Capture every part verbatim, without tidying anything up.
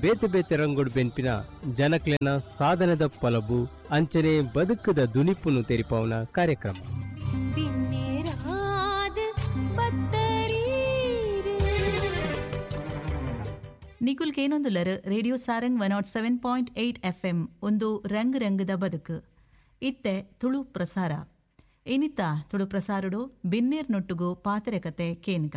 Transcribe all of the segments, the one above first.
ಬೇತೆ ಬೇತೆ ರಂಗೋಡು ಬೆನ್ಪಿನ ಜನಕ್ಲೆನ ಸಾಧನದ ಪಲಬು ಅಂಚನೆ ಬದುಕದ ದುನಿಪುನು ತೆರಿಪಾವನ ಕಾರ್ಯಕ್ರಮ. ನಿಕುಲ್ ಕೇನೊಂದುಲರ್ radio Sarang one nought seven point eight F M ಒಂದು ರಂಗ್ ರಂಗದ ಬದುಕು. ಇತ್ತೆ ತುಳು ಪ್ರಸಾರ. ಇನಿತ ತುಳು ಪ್ರಸಾರಡು ಬಿನ್ನೇರ್ ನೊಟ್ಟುಗು ಪಾತ್ರೆ ಕತೆ ಕೇನ್ಗ.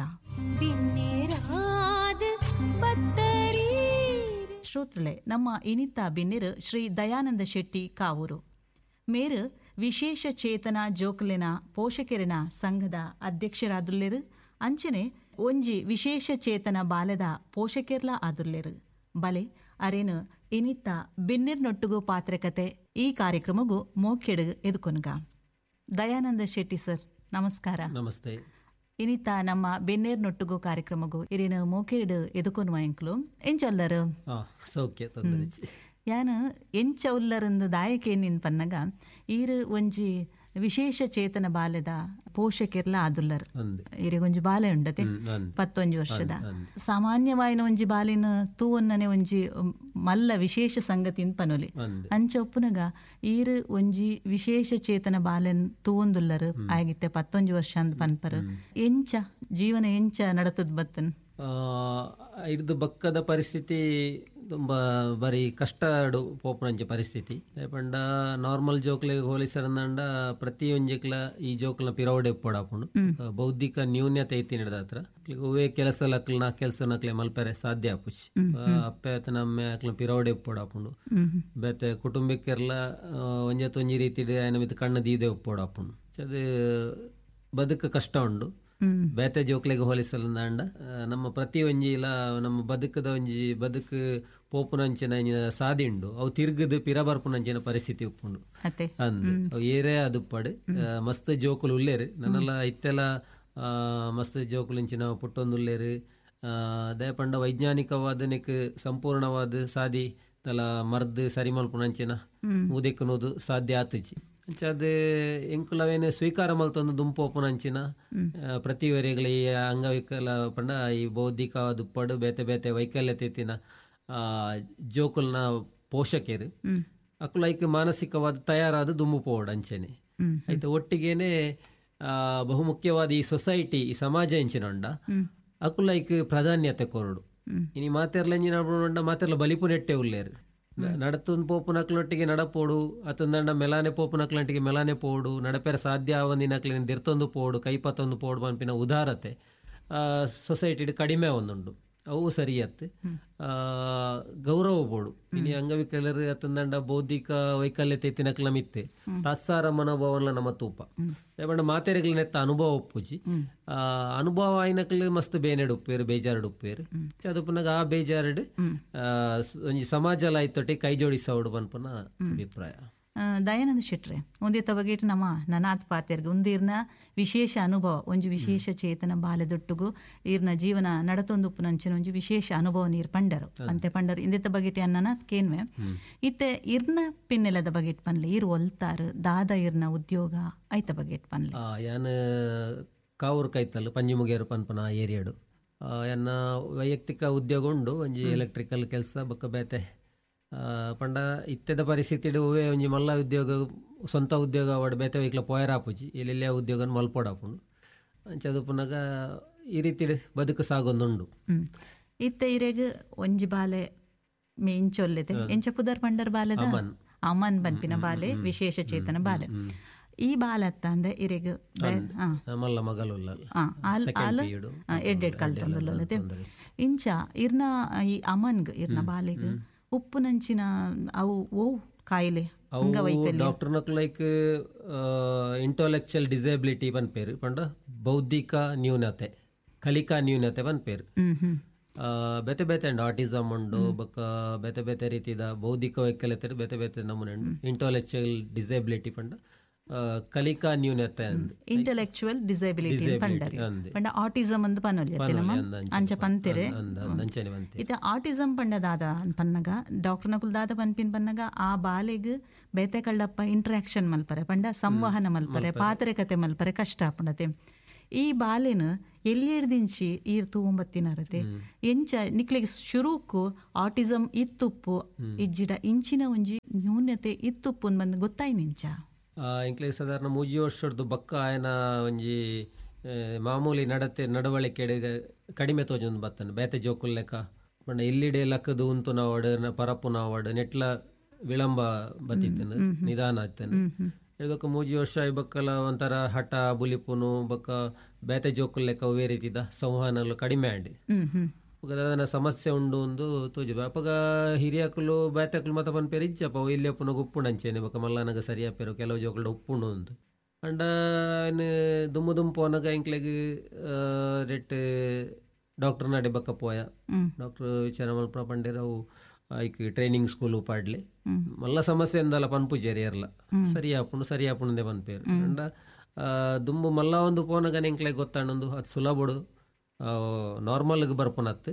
ಶ್ರೋತೃಳೆ, ನಮ್ಮ ಇನಿತ ಬಿನ್ನೇರು ಶ್ರೀ ದಯಾನಂದ ಶೆಟ್ಟಿ ಕಾವೂರು ಮೇರು ವಿಶೇಷ ಚೇತನ ಜೋಕುಲೆನ ಪೋಷಕೆರೆನ ಸಂಘದ ಅಧ್ಯಕ್ಷರಾದುಲ್ಲೇರು. ಅಂಚನೆ ಒಂಜಿ ವಿಶೇಷ ಚೇತನ ಬಾಲದ ಪೋಷಕೆರ್ಲ ಆದುರ್ಲೇರು. ಬಲೆ ಅರೇನು ಇನಿತ ಬಿನ್ನಿರ್ನೊಟ್ಟುಗು ಪಾತ್ರೆ ಕತೆ ಈ ಕಾರ್ಯಕ್ರಮಗೂ ಮೋಕೆಡು ಎದುಕೊನ್ಗ. ದಯಾನಂದ ಶೆಟ್ಟಿ ಸರ್, ನಮಸ್ಕಾರ. ನಮಸ್ತೆ. ಇನಿತ ನಮ್ಮ ಬೆನ್ನೇರ್ನೊಟ್ಟುಗು ಕಾರ್ಯಕ್ರಮಗೂ ಇರೇನು ಮೋಕೆಡು ಎದುಕೊನ್ವ ಎಂಕ್ಲು ಎಂಚೊಲ್ಲರು ಸೌಖ್ಯ. ಯಾನು ಎಂಚ ಉಲ್ಲರಂದು ದಾಯಕೇನಿನ್ ಪನ್ನಗ ಈರು ಒಂಜಿ ವಿಶೇಷ ಚೇತನ ಬಾಲ್ಯದ ಪೋಷಕೆರ್ಲ ಆದುಲ್ಲರ್. ಇರಿಗೊಂಜಿ ಬಾಲೆ ಉಂಡತೆ ಪತ್ತೊಂಜಿ ವರ್ಷದ. ಸಾಮಾನ್ಯವಾಯಿನ ಒಂಜಿ ಬಾಲಿನ ತೂವನ್ನನೆ ಒಂಜಿ ಮಲ್ಲ ವಿಶೇಷ ಸಂಗತಿನ್ ಪನೊಲಿ. ಅಂಚ ಒಪ್ಪುನಗ ಈರು ಒಂಜಿ ವಿಶೇಷ ಚೇತನ ಬಾಲೆನ್ ತೂವೊಂದುಲ್ಲರ್ ಆಗಿತ್ತೆ ಪತ್ತೊಂಜಿ ವರ್ಷ ಅಂದ್ ಪನ್ಪರ್. ಎಂಚ ಜೀವನ ಎಂಚ ನಡತದ್ ಬತ್ತನ್? ಇರ್ದು ಬಕ್ಕದ ಪರಿಸ್ಥಿತಿ ತುಂಬ ಬಾರಿ ಕಷ್ಟ ಪೋಪುನಂಚ ಪರಿಸ್ಥಿತಿ. ಪಂಡ ನಾರ್ಮಲ್ ಜೋಕ್ಲೆಗ್ ಹೋಲಿಸರಂಡ ಪ್ರತಿಯೊಂಜಿಕ್ಲ ಈ ಜೋಕ್ಲ ಪಿರವಡೆ ಉಪ್ಪಡಾಪುಂಡು. ಬೌದ್ಧಿಕ ನ್ಯೂನ್ಯತೆ ಐತಿ ಹತ್ರ ಒವ್ವೇ ಕೆಲಸ ಲಕ್ಲನ ಕೆಲಸ ನಕ್ಲೆ ಮಲ್ಪೆರೆ ಸಾಧ್ಯ ಆಪುಜಿ. ಅಪ್ಪೆ ಅಮ್ಮೆ ಅಕ್ಲ ಪಿರವಡೆ ಉಪ್ಪಡಾಪುಂಡು. ಬೇತೆ ಕುಟುಂಬಕ್ಕೆರ್ಲ ಒಂಜತ್ತೊಂಜಿ ರೀತಿ ಆಯನ ಮಿತ್ತ್ ಕಣ್ಣು ದೀದೆ ಉಪ್ಪಡಾಪುಂಡು. ಅದು ಬದುಕು ಕಷ್ಟ ಉಂಡು. ಬೇತೆ ಜೋಕ್ಲೆಗ್ ಹೋಲಿಸಲಂಡ ನಮ್ಮ ಪ್ರತಿ ಒಂಜಿ ಇಲ್ಲ ನಮ್ಮ ಬದುಕದ ಒಂಜಿ ಬದುಕು ಪೋಪುನಂಚಿನ ಸಾದಿ ಉಂಡು. ಅವು ತಿರ್ಗದು ಪಿರ ಬರ್ಪುನಂಚಿನ ಪರಿಸ್ಥಿತಿ ಉಪ್ಪುಂಡು. ಅಂದ್ ಅವು ಏರೇ ಅದುಪ್ಪಡು ಮಸ್ತ್ ಜೋಕುಲು ಉಲ್ಲೇರು. ನನ್ನೆಲ್ಲ ಇತ್ತೆಲ್ಲ ಮಸ್ತ್ ಜೋಕುಲು ಪುಟ್ಟೊಂದುಲ್ಲೇರು. ದಯಪಂಡ ವೈಜ್ಞಾನಿಕವಾದ ನೆಕ್ ಸಂಪೂರ್ಣವಾದ ಸಾದಿ ತಲ ಮರ್ದ್ ಸರಿ ಮಲ್ಪುನಂಚಿನ ಊದೆಕ್ಕುನೋದು ಸಾಧ್ಯ ಆತುಜಿ. ಅಂಚ ಅದು ಎಂಕುಲವೇನು ಸ್ವೀಕಾರ ಮಲ್ತೊಂದು ದುಂಪೋಪುನಂಚಿನ ಪ್ರತಿವರಿಗಳ ಈ ಅಂಗವಿಕಲ ಪಂಡ ಈ ಬೌದ್ಧಿಕ ದುಪ್ಪಡು ಬೇತೆ ಬೇತೆ ವೈಕಲ್ಯತೆ ಇತ್ತಿನ ಜೋಕುಲ್ನ ಪೋಷಕರು ಅಕುಲ ಐಕ್ ಮಾನಸಿಕವಾದ ತಯಾರಾದ ದುಂಬು ಪೋವಡು ಅಂಚೆನೆ. ಆಯ್ತು ಒಟ್ಟಿಗೇನೆ ಬಹುಮುಖ್ಯವಾದ ಈ ಸೊಸೈಟಿ ಈ ಸಮಾಜ ಎಂಚಿನ ಅಕುಲ ಐಕ್ ಪ್ರಾಧಾನ್ಯತೆ ಕೊರಡು. ಇನಿ ಮಾತೆರ್ಲ ಎಂಜಿನ ಮಾತೆರ್ಲ ಬಲಿಪು ನೆಟ್ಟೆ ಉಲ್ಲೇರು. ನಡತೊಂದು ಪೋಪುನಕ್ಲೊಟ್ಟಿಗೆ ನಡಪೋಡು, ಅತಂದಂಡ ಮೆಲಾನೆ ಪೋಪುನಕ್ಲೊಟ್ಟಿಗೆ ಮೆಲಾನೆ ಪೋಡು, ನಡಪೆರ ಸಾಧ್ಯ ಆವಂದಿನಕ್ಲಿನ ದಿರ್ತೊಂದು ಪೋಡು, ಕೈಪತ್ತೊಂದು ಪೋಡು ಪನ್ಪಿನ ಉದಾರತೆ ಸೊಸೈಟಿಡ್ ಕಡಿಮೆ ಒಂದುಂಡು. ಅವು ಸರಿಯತ್ತು ಗೌರವ ಬೋಡು. ಇನಿ ಅಂಗವಿಕಲರು ಅತಂದಂಡ ಬೌದ್ಧಿಕ ವೈಕಲ್ಯತೆ ಇತ್ತಿನಕ್ಲ ಮಿತ್ತೆ ತಾತ್ಸಾರ ಮನೋಭಾವನ ನಮ್ಮ ತೂಪ ಪಂಡ ಮಾತೆರೆಗ್ಲ ನೆತ್ತ ಅನುಭವ ಒಪ್ಪುಜಿ. ಅನುಭವ ಆಯ್ನಕ್ಲು ಮಸ್ತ್ ಬೇನೆಡ್ ಉಪ್ಪೇರು, ಬೇಜಾರುಡ್ ಉಪ್ಪೇರು. ಅದು ಪುನಗ ಆ ಬೇಜಾರುಡ್ ಒಂಜಿ ಸಮಾಜ ಲಾಯ್ತೊಟ್ಟಿ ಕೈ ಜೋಡಿಸೋಡು ಪನ್ಪುನ ಅಭಿಪ್ರಾಯ. ದಯಾನಂದ ಶೆಟ್ರೆ, ಒಂದೇ ತವಗೇಟ್ ನಮ್ಮ ನನಾತ್ ಪಾತೆರ್ಗ್ ಒಂದಿರ್ನ ವಿಶೇಷ ಅನುಭವ, ಒಂಜಿ ವಿಶೇಷ ಚೇತನ ಬಾಲೆದೊಟ್ಟುಗು ಈರ್ನ ಜೀವನ ನಡತೊಂದು ಉಪ್ಪುನಂಚಿನ ಒಂಜಿ ವಿಶೇಷ ಅನುಭವ ನೀರ್ ಪಂಡರು ಅಂತೆ ಪಂಡರು. ಇಂದೆತ್ತ ಬಗೆಟ್ ನನಾತ್ ಕೇನ್ವೆ ಇತ್ತೆ ಇರ್ನ ಪಿನ್ನೆಲದ ಬಗೆಟ್ ಪನ್ಲೆ, ಇರ್ ಒಲ್ತಾರು ದಾದ ಇರ್ನ ಉದ್ಯೋಗ ಐತ ಬಗೆಟ್ ಪನ್ಲೆ. ಯಾನ್ ಕಾವೂರು ಕೈತಲ್ ಪಂಜಿಮುಗೇರು ಪನ್ಪನ ಏರಿಯಾಡು ಎನ್ನ ವೈಯಕ್ತಿಕ ಉದ್ಯೋಗ ಉಂಡು. ಒಂಜಿ ಎಲೆಕ್ಟ್ರಿಕಲ್ ಕೆಲಸ ಬೊಕ್ಕ ಬೇತೆ ಪಂಡ ಇತ್ತೆದ ಪರಿಸ್ಥಿತಿ ಒವ್ವೇ ಒಂಜಿ ಮಲ್ಲ ಉದ್ಯೋಗ ಸ್ವಂತ ಉದ್ಯೋಗ ಅವಡ್ ಬೇತೆ ವೈಕ್ಲ ಪೋಯರಾಪುಜಿ ಎಲ್ಲೆಲ್ಲ ಉದ್ಯೋಗ ಮಲ್ಪೋಡಾಪುಂಡು. ಅಂಚ ಅದು ಪುನಗ ಈ ರೀತಿ ಬದುಕು ಸಾಗೊಂದುಂಡು. ಇತ್ತೆ ಇರೆಗ್ ಒಂಜಿ ಬಾಲೆ ಇಂಚೊಲ್ಲೆತೆ ಎಂಚ ಪುದರ್ ಪಂಡರ್ ಬಾಲೆದ ಅಮನ್ ಪನ್ಪಿನ ಬಾಲೆ ವಿಶೇಷ ಚೇತನ ಬಾಲೆ. ಈ ಬಾಲತ್ತ ಅಂದೆ ಇರೆಗ್ ಮಲ್ಲ ಮಗಲು ಎಡ್ಡೆಡ್ ಕಲ್ತೊಂದುಲ್ಲತೆ. ಇಂಚ ಇರ್ನ ಈ ಅಮನ್ಗ್ ಇರ್ನ ಬಾಲೆಗ್ ಉಪ್ಪುನಂಚಿನ ಅವು ಓ ಕಾಯಿಲೆ ಡಾಕ್ಟರ್ ಲೈಕ್ ಇಂಟೆಲೆಕ್ಚುಯಲ್ ಡಿಸೇಬಿಲಿಟಿ ಪನ್ಪೇರು ಪಂಡ ಬೌದ್ಧಿಕ ನ್ಯೂನತೆ, ಕಲಿಕಾ ನ್ಯೂನತೆ ಪನ್ಪೇರು. ಬೇತೆ ಬೇತೆ ಉಂಡು ಆಟಿಸಮ್ ಉಂಡು, ಬೊಕ್ಕ ಬೇತೆ ಬೇತೆ ರೀತಿದ ಬೌದ್ಧಿಕ ವೈಕಲ್ಯತೆ ಬೇತೆ ಬೇತೆ ನಮೂನೆ ಉಂಡು. ಇಂಟೆಲೆಕ್ಚುಯಲ್ ಡಿಸೇಬಿಲಿಟಿ ಪಂಡ ಕಲಿಕಾ ನ್ಯೂನತೆ ಅಂದ್ ಇಂಟೆಲೆಕ್ಚುಯಲ್ ಡಿಸೇಬಿಲಿಟಿ ಪಂಡರ್ ಪಂಡ ಆಟಿಸಮ್ ಅಂದ್ ಪನೊಲಿ ಅಂಚ ಪಂತೆರೆ. ಇತ್ತೆ ಆಟಿಸಮ್ ಪಂಡ ದಾದ ಪನ್ನಗ ಡಾಕ್ಟರ್ ನಕುಲ್ ದಾದ ಪನ್ಪಿನ್ ಪನ್ನಗ ಆ ಬಾಲೆಗ್ ಬೇತೆ ಕಳ್ಳಪ್ಪ ಇಂಟರಾಕ್ಷನ್ ಮಲ್ಪರೆ ಪಂಡ ಸಂವಹನ ಮಲ್ಪರೆ ಪಾತ್ರೆ ಕತೆ ಮಲ್ಪರೆ ಕಷ್ಟ ಆಪುಂಡತೆ. ಈ ಬಾಲೆನ್ ಎಲ್ಲಿರ್ದಿಂಚಿ ಈರ್ ತೂವೊಂಬತ್ತಿನರತೆ ಎಂಚ ನಿಕ್ಲೆಗ್ ಶುರುಕು ಆಟಿಸಮ್ ಇತ್ತುಪ್ಪು ಇಜ್ಜಿಡ ಇಂಚಿನ ಒಂಜಿ ನ್ಯೂನ್ಯತೆ ಇತ್ತುಪ್ಪು ಬಂದು ಗೊತ್ತಾಯ್ನಿಂಚ? ಎಂಕ್ಲೆಗ್ ಸಾಧಾರಣ ಮೂಜಿ ವರ್ಷದ ಬಕ್ಕ ಆಯನ ಒಂಜಿ ಮಾಮೂಲಿ ನಡತೆ ನಡವಳಿಕೆ ಕಡಿಮೆ ತೋಜೊಂದು ಬತ್ತನ ಬೇತೆ ಜೋಕುಲ್ ಲೆಕ್ಕ ಪಂಡ ಎಲ್ಲಿಡೆ ಲಕ್ಕದು ಉಂತು ನಾವಡ್ ಪರಪು ನಾವಡ್ ನೆಟ್ಲ ವಿಳಂಬ ಬತ್ತಿತ್ತನು, ನಿಧಾನ ಆಯ್ತಾನೆ. ಇದಕ್ಕೆ ಮೂಜಿ ವರ್ಷ ಬಕ್ಕಲ ಒಂಥರ ಹಠ ಬುಲಿಪುನು ಬಕ್ಕ ಬೇತೆ ಜೋಕುಲ್ ಲೆಕ್ಕ ಅವೇ ರೀತಿದ ಸಂವಹನలు ಕಡಿಮೆ ಆಂಡ್ ಅದನ್ನ ಸಮಸ್ಯೆ ಉಂಡು ಒಂದು ತೋಜು. ಅಪಗ ಹಿರಿಯಕುಲು ಬೇತಕುಲು ಮತ ಪನ್ಪೇರು ಇಜ್ಜಪ್ಪ ಇಲ್ಲಿ ಅಪ್ಪುನ ಉಪ್ಪುಂಡು ಅಂಚೇನೆ ಬೊಕ್ಕ ಮಲ್ಲನಗ ಸರಿಯಾಪೇರು ಕೆಲವು ಜೋಕುಲು ಉಪ್ಪುಂಡು ಅಂದು. ಅಂಡ ದುಮ್ಮು ದುಮ್ಮು ಪೋನಗ ಎಂಕ್ಲೆಗ್ ರೆಟ್ ಡಾಕ್ಟರ್ ನಡೆ ಬಕ್ಕ ಪೋಯ ಡಾಕ್ಟರ್ ವಿಚಾರ ಮಲ್ಪ ಪಂಡೇರು ಅವು ಐಕ್ ಟ್ರೈನಿಂಗ್ ಸ್ಕೂಲ್ ಪಾಡ್ಲಿ ಮಲ್ಲ ಸಮಸ್ಯೆ ಎಂದಲ್ಲ ಪನ್ಪುಜೇರಿ ಎರ್ಲ ಸರಿ ಆಪುಂಡು ಸರಿ ಆಪುಂಡೆ ಪನ್ಪೇರು. ಅಂಡ ದುಂಬು ಮಲ್ಲ ಒಂದು ಪೋನಗ ಎಂಕ್ಲೆಗ್ ಗೊತ್ತಾಂಡೊಂದು ಅದು ಸುಲಭಡು ನಾರ್ಮಲ್ಗೆ ಬರ್ಪುನತ್ತು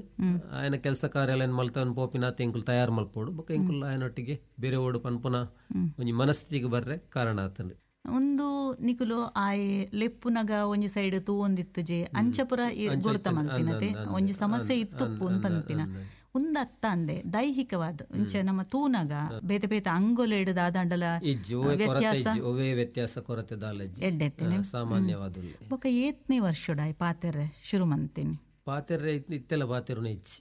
ಆಯನ ಕೆಲಸ ಕಾರ್ಯಾಲಯ ಮಲ್ತವನ್ ಪೋಪಿನಾತ್ ಎಂಕುಲು ತಯಾರು ಮಲ್ಪೋಡು ಬೊಕ್ಕ ಎಂಕುಲು ಆಯನೊಟ್ಟಿಗೆ ಬೇರೆ ಓಡು ಪನ್ಪುನ ಒಂಜಿ ಮನಸ್ಥಿತಿಗೆ ಬರ್ರೆ ಕಾರಣ ಆತಂಡು. ಒಂದು ನಿಕುಲು ಆಯೆ ಲೆಪ್ಪುನಗ ಒಂಜಿ ಸೈಡ್ ತೂವೊಂದಿತ್ತುಜೆ ಅಂಚಪುರ ಗುರುತ ಮಲ್ತಿನತೆ ಒಂಜಿ ಸಮಸ್ಯೆ ಇತ್ತುಪ್ಪು ಪನ್ಪಿನ ಉಂದತ್ತ ಅಂದೆ ದೈಹಿಕವಾದ ಇಂಚ ನಮ್ಮ ತೂನಗ ಬೇತೆ ಬೇತೆ ಅಂಗೊಲೆಡ್ ದಾದಾಂಡಲ ವ್ಯತ್ಯಾಸ ವ್ಯತ್ಯಾಸ ಕೊರತೆ ದಾಲ ಸಾಮಾನ್ಯವಾದ. ಬೊಕ್ಕ ಏತ್ನೇ ವರ್ಷಡಾಯ್ ಪಾತೆರೆ ಶುರು ಮಂತೀನಿ ಪಾತೆರೆ ಇತ್ತೆಲ್ಲ ಪಾತೆರುನ ಇಚ್ಚಿ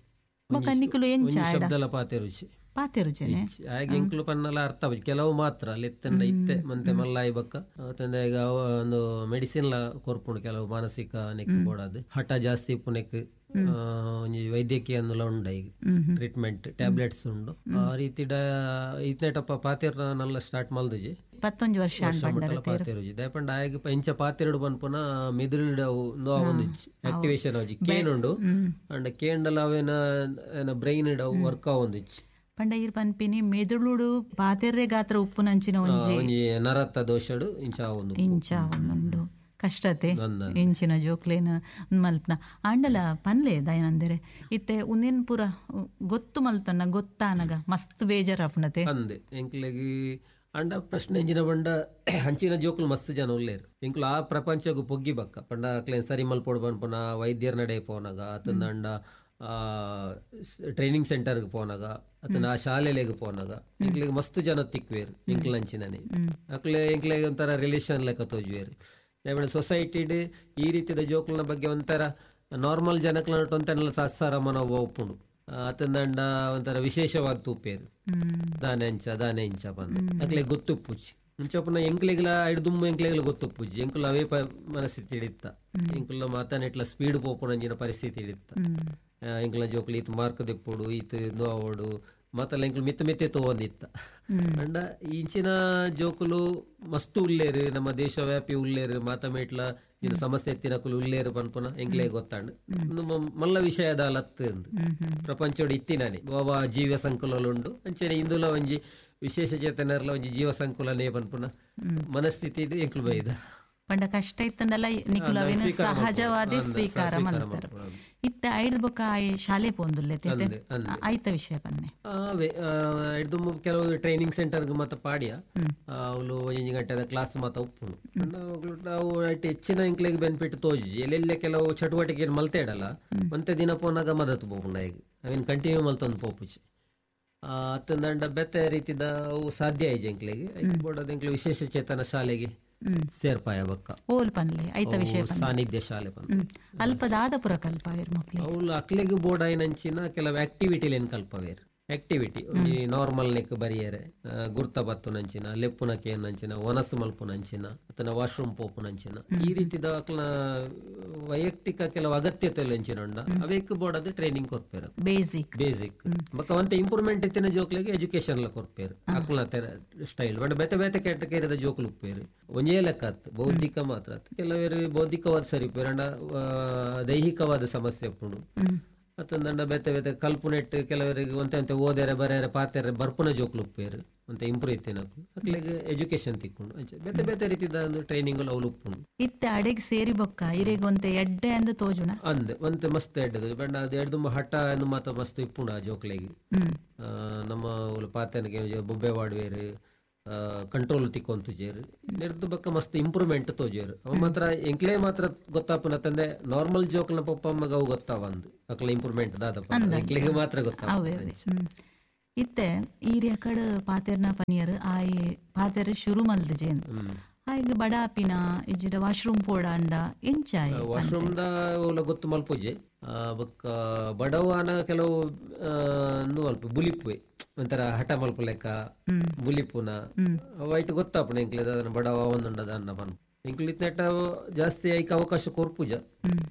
ಬೊಕ್ಕ ನಿಕುಲು ಎಂಚ ಶಬ್ದಲ ಪಾತೆರುಚಿ ಪಾತೆರುಜನೆ ಹಾಗೆ ಎಂಕುಲು ಪನ್ನಲ ಅರ್ಥ ಕೆಲವು ಮಾತ್ರ ಲೆತ್ತಂಡ ಇತ್ತೆ ಮಂತೆ ಮಲ್ಲಾಯಿ ಬಕ್ಕ ತಂದೆ ಈಗ ಒಂದು ಮೆಡಿಸಿನ್ ಲ ಕೊರ್ಪುಂಡು ಕೆಲವು ಮಾನಸಿಕ ನೆಕ್ ಬೋಡಾದ್ ಹಠ ಜಾಸ್ತಿ ಇಪ್ಪು ನೆಕ್ ಒಂಜಿ ವೈದ್ಯಕೀಯ ಅನ್ನುಲ ಉಂಡು ಈಗ ಟ್ರೀಟ್ಮೆಂಟ್ ಟ್ಯಾಬ್ಲೆಟ್ಸ್ ಉಂಡು ಆ ರೀತಿ ಇತ್ನೇಟಪ್ಪ ಪಾತೆರ್ ನಲ್ಲ ಸ್ಟಾರ್ಟ್ ಮಲ್ದುಜಿ ಪತ್ತೊಂಜಿ ವರ್ಷ ಪಾತೆರುಜಿ ದಯಪಂಡ ಆಯಗ್ ಇಂಚ ಪಾತೆರುಡು ಪನ್ಪುನ ಮೆದುಳು ಆವೊಂದಿಜ್ಜಿ ಆಕ್ಟಿವೇಶನ್ ಆವೊಂಜಿ ಕೇನುಂಡು ಅಂಡ ಕೇಂಡಲ ಅವೇನ ಬ್ರೈನ್ ವರ್ಕ್ ಆವೊಂದಿಜ್ಜಿ. ಪಂಡ ಈರ್ ಪನ್ಪಿನಿ ಮೆದುಳುಡು ಪಾತೆರ್ರೆ ಗಾತ್ರ ಉಪ್ಪುನಂಚಿನ ಒಂಜಿ ನರತ್ತ ದೋಷಡು ಇಂಚ ಆವೊಂದು ಇಂಚ ಆವೊಂದುಂಡು ಕಷ್ಟತೆ ಇಂಚಿನ ಜೋಕ್ಲೇನ ಮಲ್ಪನ ಆಂಡಲ ಪನ್ಲೆ ದಯನಂದರೆ ಇತ್ತೆ ಉಂದಿನ ಪೂರ ಗೊತ್ತು ಮಲ್ತನ ಗೊತ್ತಾನಗ ಮಸ್ತ್ ಬೇಜಾರಾಪುಣತೆ ಅಂದೆ ಎಂಕ್ಲೆಗ್ ಅಂಡ ಪ್ರಶ್ನೆ ಎಂಜಿನ ಬಂಡ ಅಂಚಿನ ಜೋಕುಲು ಮಸ್ತ್ ಜನ ಉಲ್ಲೇರು ಎಂಕ್ಲು ಆ ಪ್ರಪಂಚಗೂ ಪೊಗ್ಗಿ ಬಕ್ಕ ಪಂಡ ಅಕ್ಲೇನ್ ಸರಿ ಮಲ್ಪೊಡು ಪನ್ಪುನ ವೈದ್ಯರ ನಡೆ ಪೋನಗ ಆತಂದ ಅಂಡ ಟ್ರೈನಿಂಗ್ ಸೆಂಟರ್ಗೆ ಪೋನಾಗ ಅಥವಾ ಆ ಶಾಲೆಲೆಗ್ ಪೋನಾಗ ಎಂಕ್ಲೆಗ್ ಮಸ್ತ್ ಜನ ತಿಕ್ವೇರು ಎಂಕ್ಲಂಚಿನನೆ ಅಕ್ಲೆ ಎಂಕ್ಲೆಗ್ ಒಂಥರ ರಿಲೇಷನ್ ಲೆಕ್ಕ ತೋಜುವೇರು. ಸೊಸೈಟಿಡ್ ಈ ರೀತಿಯ ಜೋಕುಲ್ನ ಬಗ್ಗೆ ಒಂಥರ ನಾರ್ಮಲ್ ಜನಕ್ಲ ಒಂಥರ ಸಾಸಾರ ಮನೋಭಾವ ಉಪ್ಪುಂಡು ಅತಂದಂಡ ಒಂಥರ ವಿಶೇಷವಾದ ತೂಪೇರು ದಾನೆ ಅಂಚ ದಾನೆ ಇಂಚ ಬಂದು ಅಕ್ಲೆಗ್ ಗೊತ್ತುಪ್ಪುಜಿ ಇಂಚಪ್ಪನ ಎಂಕ್ಲೆಗ್ಲ ಐಡ್ದುಮ್ಮು ಎಂಕ್ಲೆಗ್ಲ ಗೊತ್ತುಪ್ಪುಜಿ ಎಂಕುಲ ಅವೇ ಮನಸ್ಥಿತಿ ಹಿಡಿತ್ತ ಎಂಕುಲ ಮಾತಾನೆಟ್ಲ ಸ್ಪೀಡ್ ಪೋಪುನಂಚಿನ ಪರಿಸ್ಥಿತಿ ಹಿಡಿತ್ತ ಎಂಕ್ಲ ಜೋಕುಲು ಈತ್ ಮಾರ್ಕ್ ದೆಪ್ಪೊಡು ಈತ್ ನೋವೋಡು ಮತ್ತಲ್ಲ ಎಂಕ್ಲು ಮಿತ್ತ ಮಿತ್ತೆ ತೋವಂದಿತ್ತ. ಅಂಡ ಇಂಚಿನ ಜೋಕುಲು ಮಸ್ತು ಉಲ್ಲೇರು ನಮ್ಮ ದೇಶವ್ಯಾಪಿ ಉಲ್ಲೇರು ಮಾತಮೇಟ್ಲ ಇನ್ನು ಸಮಸ್ಯೆ ಎತ್ತಿನಕುಲು ಉಲ್ಲೇರು ಪನ್ಪುನ ಎಂಕ್ಲೆ ಗೊತ್ತಾಂಡ್ ಮಲ್ಲ ವಿಷಯದ ಲತ್ತು ಅಂದು ಪ್ರಪಂಚೋಡು ಇತ್ತಿನಾನೆ ಬಾಬಾ ಜೀವ ಸಂಕುಲುಂಡು ಅಂಚನೆ ಇಂದುಲ ಒಂಜಿ ವಿಶೇಷ ಚೇತನರ್ಲ ಒಂಜಿ ಜೀವ ಸಂಕುಲನೇ ಪನ್ಪುನ ಮನಸ್ಥಿತಿ ಎಂಕ್ಲು ಬೈದ ಪಂಡ ಕಷ್ಟ ಇತ್ತಂಡಲ ನಿಕುಲು ಅವೇನ ಸಹಜವಾದ ಸ್ವೀಕಾರ ಮಲ್ತಾರ. ಇತ್ತೆ ಐಡ್ ಬೊಕ್ಕ ಆಯ್ ಶಾಲೆ ಪೋಂದುಲ್ಲೆ ಆಯ್ತ ವಿಷಯ ಪನ್ನೆ ಐಡ್ದು ಕೆಲವು ಟ್ರೈನಿಂಗ್ ಸೆಂಟರ್ ಮತ್ತ ಪಾಡಿಯ ಅವಳು ಒಂಜಿ ಗಂಟೆದ ಕ್ಲಾಸ್ ಮಾತ ಉಪ್ಪುಂಡು ನಾವು ಹೆಚ್ಚಿನ ಎಂಕ್ಲೆಗ್ ಬೆನಿಫಿಟ್ ತೋಜಿ ಎಲ್ಲೆಲ್ಲ ಕೆಲವು ಚಟುವಟಿಕೆ ಮಲ್ತೆ ಇಡಲ್ಲ ಒಂತೆ ದಿನ ಪೋನಾಗ ಮದತ್ ಪೋಪುಂಡ ಈಗ ಅವೇನು ಕಂಟಿನ್ಯೂ ಮಲ್ತೊಂದು ಪೋಪುಜಿ ಅತ್ತಂದಂಡ ಬೆತ್ತೆ ರೀತಿದ ಅವು ಸಾಧ್ಯ ಆಯ್ಜಿ ಎಂಕ್ಲೆಗ್ ಬೋಡದ ಎಂಕ್ಲೆ ವಿಶೇಷ ಚೇತನ ಶಾಲೆಗೆ ಸೇರ್ಪಾಯ ಬಕ್ಕ ಓಲ್ ಪನ್ಲೆ ಐತ ವಿಷಯ ಸಾನ್ನಿಧ್ಯ ಶಾಲೆ ಪನ್ಲೆ ಅಲ್ಪದಾದ ಪುರ ಕಲ್ಪಾವೇರ್ ಮಕ್ಳು ಅವ್ಲು ಅಕ್ಲೆಗ್ ಬೋರ್ಡ್ ಆಯ್ನಂಚಿನ ಕೆಲವು ಆಕ್ಟಿವಿಟಿಲೇನ್ ಕಲ್ಪವೇರ್ ಆಕ್ಟಿವಿಟಿ ಒಂಜಿ ನಾರ್ಮಲ್ ನೆಕ್ ಬರಿಯರೆ ಗುರ್ತ ಬತ್ತುನಂಚಿನ ಲೆಪ್ಪುನಕೇನಂಚಿನ ಒನಸು ಮಲ್ಪುನಂಚಿನ ಅತನ ವಾಶ್ರೂಮ್ ಪೋಪುನಂಚಿನ ಈ ರೀತಿದ ಅಕ್ಲ ವೈಯಕ್ತಿಕ ಕೆಲವು ಅಗತ್ಯತೆ ಅಂಚಿನ ಉಂಡ ಅವೇಕ್ ಬೋರ್ಡ್ ಅದು ಟ್ರೈನಿಂಗ್ ಕೊರ್ಪೇರು ಬೇಸಿಕ್ ಬೇಸಿಕ್ ಬೊಕ್ಕ ಒಂತೆ ಇಂಪ್ರೂವ್ಮೆಂಟ್ ಇತ್ತಿನ ಜೋಕ್ಲೆಗ್ ಎಜುಕೇಶನ್ ಲ ಕೊರ್ಪೇರು ಅಕ್ಲ ಸ್ಟೈಲ್ ಬಟ್ ಬೇತೆ ಬೇತೆ ಕ್ಯಾಟಗರಿದ ಜೋಕುಲು ಉಪ್ಪೇರು ಒಂಜೇ ಲೆಕ್ಕ ಆತ್ ಬೌದ್ಧಿಕ ಮಾತ್ರ ಆತ್ ಕೆಲವರು ಬೌದ್ಧಿಕವಾದ ಸರಿ ಉಪ್ಪೇರು ಅಂಡ ದೈಹಿಕವಾದ ಸಮಸ್ಯೆ ಉಪ್ಪುಂಡು ಅತ್ತಂದಂಡ ಬೇತೆ ಬೇತೆ ಕಲ್ಪುನೆಟ್ ಕೆಲವರಿಗೆ ಒಂತೆ ಒಂತೆ ಓದೇರೆ ಬರೇರೆ ಪಾತೆರೆ ಬರ್ಪುನ ಜೋಕ್ಲು ಉಪ್ಪೇರು ಒಂತೆ ಇಂಪ್ರೂವ್ ಇತ್ತಿನ ಅಕ್ಲೆಗ್ ಎಜುಕೇಶನ್ ತಿಕ್ಕೊಂಡು ಅಂಚೆ ಬೇತೆ ಬೇತೆ ರೀತಿದ ಒಂದು ಟ್ರೈನಿಂಗ್ ಅವ್ಲು ಉಪ್ಪುಂಡು. ಇತ್ತೆ ಅಡೆಗ್ ಸೇರಿ ಬೊಕ್ಕ ಇರೆಗ್ ಒಂತೆ ಎಡ್ಡೆ ಅಂದ್ ತೋಜುಣ ಅಂದ್ ಒಂತೆ ಮಸ್ತ್ ಎಡ್ಡೆ ಬಣ್ಣ ಅದು ಎಡ್ದು ಹಠ ಅಂದ್ ಮಾತ ಮಸ್ತ್ ಇಪ್ಪುಂಡು ಆ ಜೋಕ್ಲೆಗ್. ನಮ್ಮ ಅವ್ಲು ಪಾತೆನಗೆ ಬೊಬ್ಬೆ ವಾಡುವೇರು ಕಂಟ್ರೋಲ್ ತಿಕ್ಕೊಂತುಜೇರು ನೆರ್ದು ಬಕ್ಕ ಮಸ್ತ್ ಇಂಪ್ರೂವ್ಮೆಂಟ್ ತೋಜೇರು. ಅವ ಮಾತ್ರ ಎಂಕ್ಲೇ ಮಾತ್ರ ಗೊತ್ತಾಪುನ ತಂದೆ ನಾರ್ಮಲ್ ಜೋಕ್ಲ ಪಪ್ಪ ಅಮ್ಮಗ ಅವು ಗೊತ್ತಾವಂದು ಅಕ್ಲ ಇಂಪ್ರೂವ್ಮೆಂಟ್ ದಾದಪ್ಪ ಎಂಕ್ಲೆಗೆ ಮಾತ್ರ ಗೊತ್ತಾವ. ಇತ್ತೆ ಈರಿಯ ಕಡೆ ಪಾತೆರ್ನ ಪನಿಯರ್ ಆಯಿ ಪಾತೆರ್ ಶುರು ಮಲ್ದ ಜೇನ್ ಆಯ್ಗೆ ಬಡಾಪಿನ ಇಜ್ಜಿಡ ವಾಶ್ರೂಮ್ ಪೋಡಾಂಡ ಎಂಚಾಯ್ ವಾಶ್ರೂಮ್ ದ ಓಲ ಗೊತ್ತು ಮಲ್ಪುಜೆ ಬೊಕ್ಕ ಬಡವಾನ ಕೆಲವು ಮಲ್ಪ ಬುಲಿಪುವೆ ಒಂಥರ ಹಠ ಮಲ್ಪ ಲೆಕ್ಕ ಬುಲಿಪುನ ವೈಟ್ ಗೊತ್ತಾಪುಣ ಎಂಕ್ಲೆ ದಾದನ ಬಡವ ಒಂದುಂಡ ದಾನ್ನ ಪನ್ ಎಂಕ್ಲು ಇತ್ನೆಟ ಜಾಸ್ತಿ ಐಕ್ ಅವಕಾಶ ಕೊರ್ಪುಜ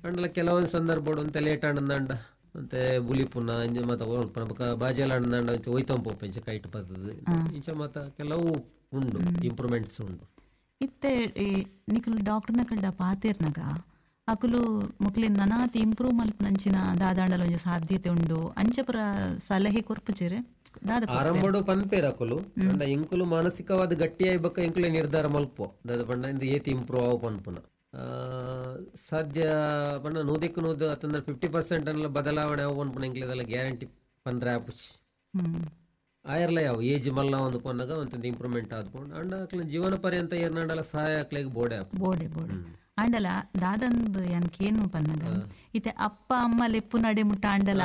ಅಂಡಲ ಕೆಲವೊಂದು ಸಂದರ್ಭ ಒಂತೆ ಲೇಟ್ ಆಂಡಂಡ ಮತ್ತೆ ಬುಲಿಪುನ ಇಂಜ ಮಾತ ಬೊಕ್ಕ ಬಾಜೆಲ ಅಂಡ ಒಯ್ತಂಪೋಪ ಇಂಚ ಕೈಟ್ ಬರ್ತದೆ ಇಂಚ ಮಾತ ಕೆಲವು ಉಂಡು ಇಂಪ್ರೂವ್ಮೆಂಟ್ಸ್ ಉಂಡು. ಇತ್ತೆ ಈ ನಿಕುಲು ಡಾಕ್ಟರ್ನ ಕಂಡ ಪಾತೆರ್ನಗ ಅಕುಲು ಮುಕ್ಲಿನ್ ನನಾತಿ ಇಂಪ್ರೂವ್ ಮಲ್ಪನಂಚಿನ ದಾದಾಂಡಲ ಒಂಜಿ ಸಾಧ್ಯತೆ ಉಂಡು ಅಂಚಪುರ ಸಲಹೆ ಕೊರ್ಪುಜೆರೆ ದಾದ ಆರಂಭಡು ಪನ್ಪೇರ್ ಅಕುಲು ಅಂಡ ಇಂಕುಲು ಮಾನಸಿಕವಾದ ಗಟ್ಟಿಯಾಯಿ ಬಕ್ಕ ಇಂಕುಲೆ ನಿರ್ಧಾರ ಮಲ್ಪೋ ದಾದ ಪಂಡ ಇಂದು ಏತಿ ಇಂಪ್ರೂವ್ ಆವು ಪನ್ಪುನ ಸಾಧ್ಯ ಪಂಡ ನೂದಕ್ಕೆ ನೂದು ಅತಂದ್ರೆ ಫಿಫ್ಟಿ ಪರ್ಸೆಂಟ್ ಅನ್ನಲ್ಲ ಬದಲಾವಣೆ ಅವು ಪನ್ಪುನ ಇಂಕ್ಲೆದಲ್ಲ ಗ್ಯಾರಂಟಿ ಪಂದ್ರೆ ಆಪುಚ್ ಆಯರ್ಲ ಯಾವ ಏಜ್ ಮಲ್ಲ ಒಂದು ಪನ್ನಾಗ ಒಂತಂದು ಇಂಪ್ರೂವ್ಮೆಂಟ್ ಆದ್ಕೊಂಡು ಅಂಡ ಅಕ್ಲ ಜೀವನ ಪರ್ಯಂತ ಏರ್ನಾಡಲ ಸಹಾಯ ಅಕ್ಲೆಗ್ ಬೋಡೆ ಬೋಡೆ ಬೋಡೆ ಅಂಡಲ ದಾದಂದು ಯಾನ್ಕೇನು ಪನ್ನಗ ಇತ್ತೆ ಅಪ್ಪ ಅಮ್ಮ ಲೆಪ್ಪು ನಡೆ ಮುಟ್ಟ ಅಂಡಲ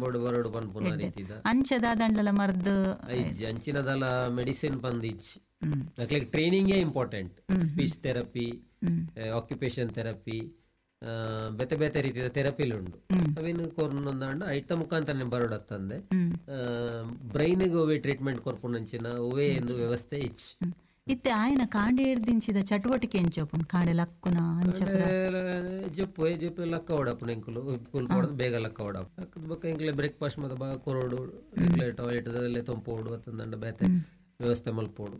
ಬೋಡು ಬರೋಡು ಪನ್ಪುನ ರೀತಿದ ಅಂಚ ದಾದಂಡಲ ಮರ್ದು ಇಜ್ಜಿ ಅಂಚಿನದಲ ಮೆಡಿಸಿನ್ ಬಂದ್ ಇಜ್ಜಿ ಅಕ್ಲೆಗ್ ಟ್ರೈನಿಂಗೇ important. Speech therapy, occupation therapy, ಬೇತೆ ಬೇತೆ ರೀತಿಯ ಥೆರಪಿಲ್ ಉಂಡು ಅವೇನು ಕೊರ್ನೊಂದಾಂಡ ಐತ ಮುಖಾಂತರ ಬರೋಡತ್ತಂದೆ ಬ್ರೈನ್ಗೆ ಒವೇ ಟ್ರೀಟ್ಮೆಂಟ್ ಕೊರ್ಪುನಂಚಿನ ಒವೇ ಎಂದು ವ್ಯವಸ್ಥೆ ಇಚ್ಚು. ಇತ್ತೆ ಆಯನ ಕಾಂಡೆ ಹಿಡ್ದಿಂಚಿದ ಚಟುವಟಿಕೆ ಎಂಚೋಪುನ್ ಕಾಂಡೆ ಲಕ್ಕುನ ಅಂಚಪುರ ಜಪ್ಪು ಜಪ್ಪು ಲಕ್ಕ ಓಡಪುನ ಎಂಕುಲು ಕುಲ್ ಕೊಡದು ಬೇಗ ಲಕ್ಕ ಓಡಪ್ಪ ಬೊಕ್ಕ ಎಂಕ್ಲೆ ಬ್ರೇಕ್ಫಾಸ್ಟ್ ಮತ್ತೆ ಬಾ ಕೊರೋಡು ಎಂಕ್ಲೆ ಟಾಯ್ಲೆಟ್ ಅದೆಲ್ಲ ತೊಂಪೋಡು ಅತ್ತಂದಂಡ ಬೇತೆ ವ್ಯವಸ್ಥೆ ಮಲ್ಪೋಡು